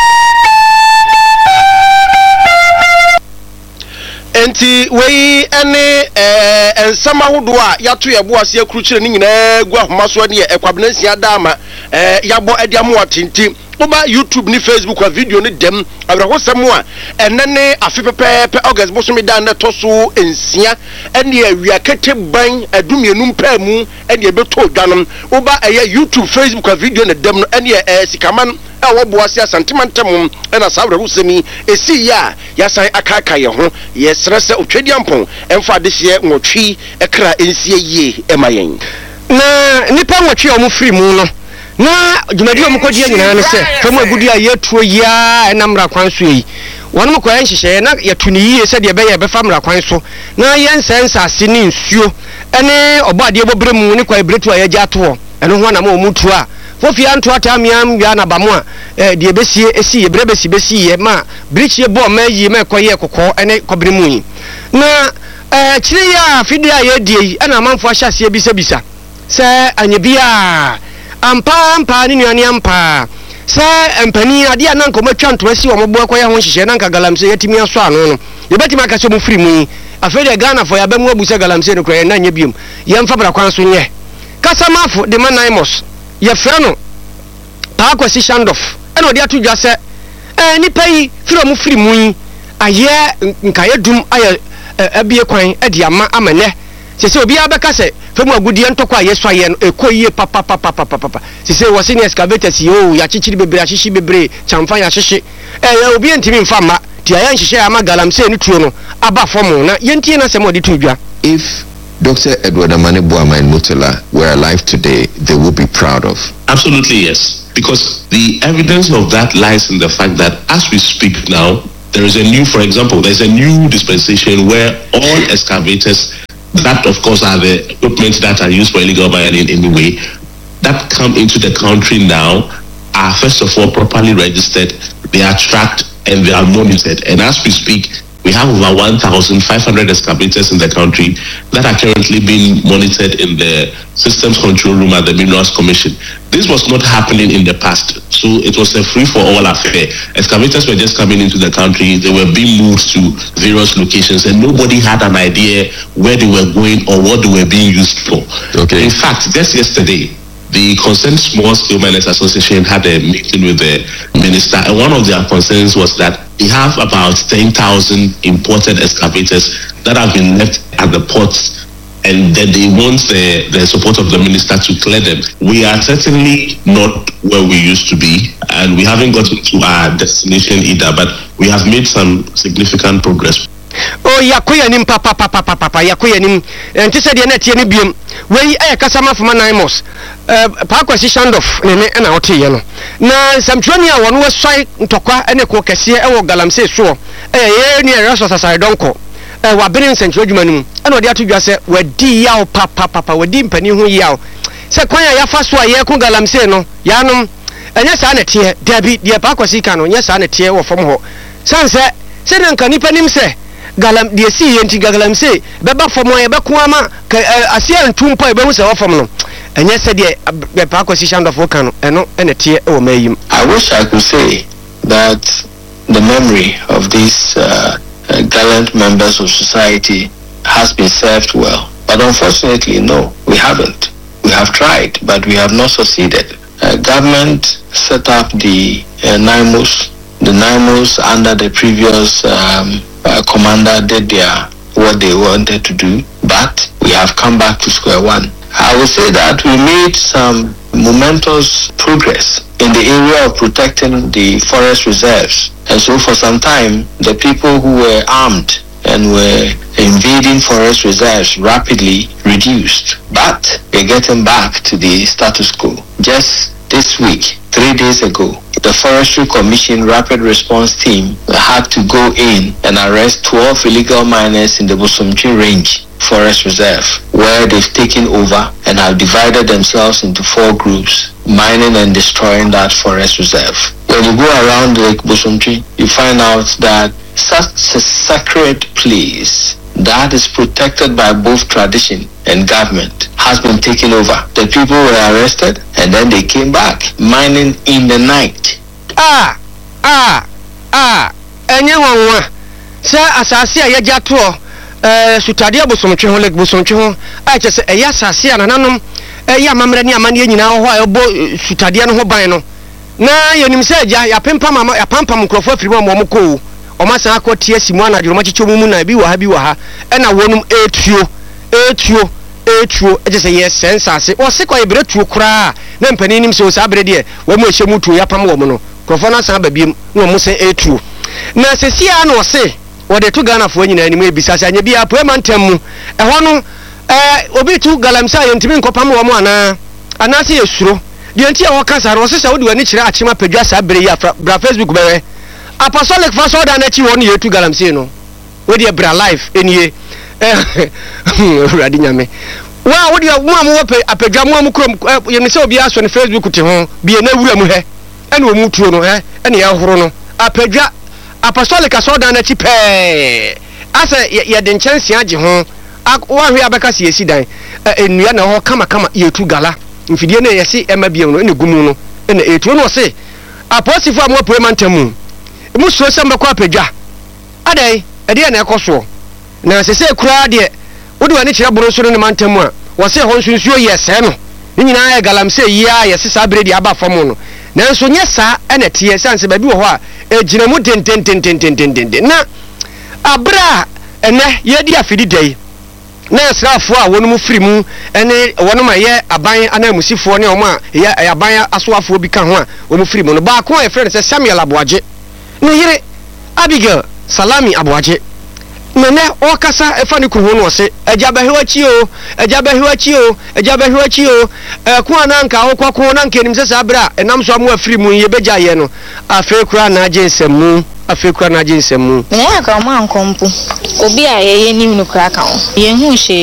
Nti wei ne ɛɛ nsɛm ahodoɔ a yɛato yɛ bo ase akurukyerɛ ne nyinaa gu ahoma so ne yɛ ɛkwabena nsia da ama ɛɛ yɛabɔ ɛde ama atenten. Woba YouTube ne Facebook a, video ne dɛm awerɛhosɛm a ɛnɛ ne afe pɛpɛɛpɛ August bosome da ne ɛtɔ so nsia ɛne awia kete ban adumienu mpaa mu ɛne ɛbɛtɔ dwa no. Woba ɛyɛ YouTube, Facebook a, video ne dɛm no ɛne ɛɛ Sikaman a wɔboa ase Asantema ntam ɛna saa awerɛhosɛm yi ɛsii yɛ a yɛasan akaaka yɛn ho. Yɛsrɛ sɛ Otwadiampɔn ɛmfa adehyeɛ nwɔtwe ɛkra ɛnsie yie ɛma yɛn. Na nipa nwɔtwe a wɔn firi mu no, na dwumadi a wɔn kɔgye nyinaa ne sɛ fam agudi a yɛtuo yiaa ɛnam mmara kwan so yi, wɔn kɔyɛ nhyehyɛeɛ na yɛto ne yie sɛdeɛ ɛbɛyɛ ɛbɛfa mmara kwan so na yɛnsɛ nsase ne nsuo ɛne ɔbɔ adeɛ bɔberɛ mu ne kwae beretu a yɛgye ato hɔ. Ɛno ho anam a wɔn tu a fofia ntoataa mmea nwia naba mu a ɛɛ deɛ ɛbɛsie esi yɛ berɛ bɛsi bɛsi yɛ ma birikyie bɔɔ mmaa yie ma ɛkɔyɛ kɔkɔɔ ɛne kɔbere mu yi. Na ɛɛ akyire yi a afidie a yɛredie yi, ɛna amanfoɔ ahyɛ aseɛ bisabisa sɛ anyɛ biara ampa ampa ne nuane ampa sɛ mpanin adeɛ a na nka ɔmatwa ntoma si wɔn bo akɔyɛ ho nhyehyɛ na nka galamsey yɛtumi asɔ ano no, yɛbɛtumi aka sɛ ɔmo firi mu yi, afei deɛ Ghanafoɔ yɛaba mu abu sɛ galamsey no koraa yɛn nan nyɛ biom, yɛmfa bra kwan so nyɛ. Kasamafo de ma NAIMOS, yɛfrɛ no Paa Kwasi Shandof. Ɛna ɔde ato dwa sɛ ɛɛ nnipa yi firi a wɔfiri mu yi ayɛ nkaeɛ dum ayɛ abue kwan de ama ama nnɛ seesei obiara bɛka sɛ fam agudeɛ ntɔkwa a yɛsuaeɛ no ɛkɔ yie papapapapapa. Seesei wɔse ne excavators yi oo yɛakyekyere bebree ahyehye bebree kyamfa yɛahyehye ɛɛ obiara ntumi mfa mma nti yɛayɛ nhyehyɛeɛ ama galamsey no tuo no aba fam na yɛntie n'asɛm a ɔde too dwa. If Doctor Edward Amane Boamah and Murtala were alive today, they would be proud of. Absolutely, yes. Because the evidence of that lies in the fact that as we speak now, there is a new, for example, there's a new dispensation where all excavators, that of course are the equipment that are used for illegal mining anyway, that come into the country now are first of all properly registered, they are tracked and they are monitored. And as we speak, we have over one thousand five hundred excavators in the country that are currently being monitored in the systems control room at the Minerals Commission. This was not happening in the past, so it was a free-for-all affair. Excavators were just coming into the country, they were being moved to various locations, and nobody had an idea where they were going or what they were being used for. Okay. In fact, just yesterday, the Concerned Small Scale Miners Association had a meeting with the minister, and one of their concerns was that they have about ten thousand imported excavators that have been left at the ports, and that they want the, the support of the minister to clear them. We are certainly not where we used to be, and we haven't gotten to our destination either, but we have made some significant progress. Oh, yɛakɔ yɛn anim papapapapapa, yɛakɔ yɛn anim. Ɛnte sɛ deɛ na ɛteɛ no biom. Wei yɛ Kasamafo ma Naimos, eh, Paa Kwasi Shandorf ne ne ɛna ɔteeɛ no. Na nsɛmtwerɛni a wɔno asuae ntɔkwa ne ko kɛseɛ wɔ galamsey soɔ ɛyɛ yɛn nua Erastus Asare Donkor. Eh, wabene nsɛntwerɛ adwuma no mu ɛna ɔde ato dwa sɛ wadi yaw papapapa, wadi mpanin ho yaw sɛ kwan a yɛafa so a yɛreko galamsey no, yɛanom, ɛnyɛ saa na ɛteɛ. Dabi, deɛ Paa Kwasi ka no, nyɛ saa na ɛteɛ wɔ fam hɔ. Sane sɛ, sɛdeɛ nka nnipa nim sɛ galam, deɛ ɛsii yɛ nti galamsey bɛba fam a yɛbɛko ama ka, ɛ, aseɛ antu mpo a yɛbɛhu sɛ ɛwɔ fam no, ɛnyɛ sɛdeɛ ab-, Paa Kwasi Shandorf ka no, ɛno na ɛteɛ wɔ mmaa yi mu. I wish I could say that the memory of these, uh, uh, gallant members of society has been served well, but unfortunately, no, we haven't. We have tried, but we have not succeeded. Uh, government set up the, uh, NAIMOS. The NAIMOS under the previous, um, uh, commander did their what they wanted to do, but we have come back to square one. I would say that we made some momentous progress in the area of protecting the forest reserves. And so for some time, the people who were armed and were invading forest reserves rapidly reduced. But we're getting back to the status quo. Just this week, three days ago, the Forestry Commission Rapid Response Team had to go in and arrest twelve illegal miners in the Bosomtwe Range Forest Reserve, where they've taken over and have divided themselves into four groups, mining and destroying that forest reserve. When you go around Lake Bosomtwe, you find out that such a sacred place that is protected by both tradition and government has been taken over. The people were arrested and then they came back mining in the night. Ah, ah, ah, enye nwanwa sɛ asase a yɛgye atoɔ, eh, sutadeɛ bosomtwe ho, Lake Bosomtwe ho, a kyerɛ sɛ ɛyɛ asase a nananom ɛyɛ amammerɛ ne amanneɛ nyinaa wɔ hɔ a ɛbɔ, eh, sutadeɛ no ho ban no. Na yɛnim sɛ agya, yɛapempam ama, yɛapampam nkurɔfoɔ afiri mu ama wɔn kɔ o. Wɔn asan akɔ te asi mu anadwo, wɔn akyekyɛ wɔn mu na ebi wɔ ha, bi wɔ ha, ɛna wɔnom etuo, etuo, etuo, ɛkyɛ sɛ yɛsɛe nsase. Wɔse kɔ yɛbrɛ tuo koraa, na mpanin nim sɛ o saa bere deɛ, wɔn a ɛhyɛ mu tuo, yɛapam wɔn no, nkurɔfoɔ no asan aba biom, na wɔn sɛ etuo. Na seesei ara na wɔse, wɔde to Ghanafoɔ nyinaa anim ebisa sɛ anyɛ biara Apueɛ mantam mu, ɛhɔ no, ɛɛ, obi tu galamsey a yɛntumi nkɔpam wɔn anaa? Anaasɛ yɛsuro? Deɛ nti a wɔka saa no, wɔse sɛ wode w'ani kyerɛ Akyem Apadwa saa bere yi a, fra, bra Facebook bɛhwɛ. Apostolic fa asɔredan no akyi hɔ no yɛretu galamsey no. Wei deɛ bra live nie. Awurade Nyame. Wo a wodeɛ, mo a mowɔ pɛ, Apadwa, mo a mo kurom, ɛ, yɛnim sɛ obiara sɔ ne Facebook te ho, bie na wura mu hɛ, ɛna wɔn tuo no hɛ, ɛna yɛhoro no. Apadwa, Apostolic asɔredan no akyi pɛɛ, asɛ yɛ, yɛde nkyɛnsee agye ho, ak, woahwɛ a bɛka sɛ yɛsi dan, ɛ, nnua na ɛwɔ hɔ kamakama, yɛretu gala. Mfidie no a yɛse ɛmma bio no, ɛna ɛgu mu no, ɛna ɛretu. Ɛna ɔse, apolisifoɔ a moapue mantam mu, mosuro sɛ mobɛkɔ apadwa? Adɛn, ɛdeɛn na ɛkɔ soɔ? Na sesei koraa deɛ, wode w'ani kyerɛ boro nso ne ne mantam mu a, wɔse ɛhɔ nso nsuo yɛ sɛɛ no. Ne nyinaa yɛ galamsey yi ara a yɛse saa berɛ deɛ aba fam no. Nanso nyɛ saa ɛna ɛteɛ, ɛsiane sɛ baabi wɔ hɔ a ɛgyina mu dendendendendendenden. Na aberɛ a ɛnɛ yɛredi afidi da yi, na asraafoɔ a wɔnom firi mu ne wɔnom a ɛyɛ aban ananmusifoɔ ne wɔn a ɛyɛ aban asoafoɔ bi ka ho a wɔn firi mu no, baako a yɛfrɛ no sɛ Samuel Aboagye, ne yere Abigail Salami Aboagye, na nɛ ɔrekasa ɛfa ne kunu ho no ɔse, Agya bɛhwe w'akyi o, agya bɛhwe w'akyi o, agya bɛhwe w'akyi o, ɛko a na anka wokɔko na anka yɛnim sɛ saa berɛ a ɛnam so ama wafiri mu yi yɛbɛgyae yɛ no, afei koraa na agye nsɛmmu, afei koraa na agye nsɛmmu. Meyɛ anka ɔmo ankɔ mpo. Obi a yɛyɛ nim no koraa ka ho. Yɛnhuu hwee.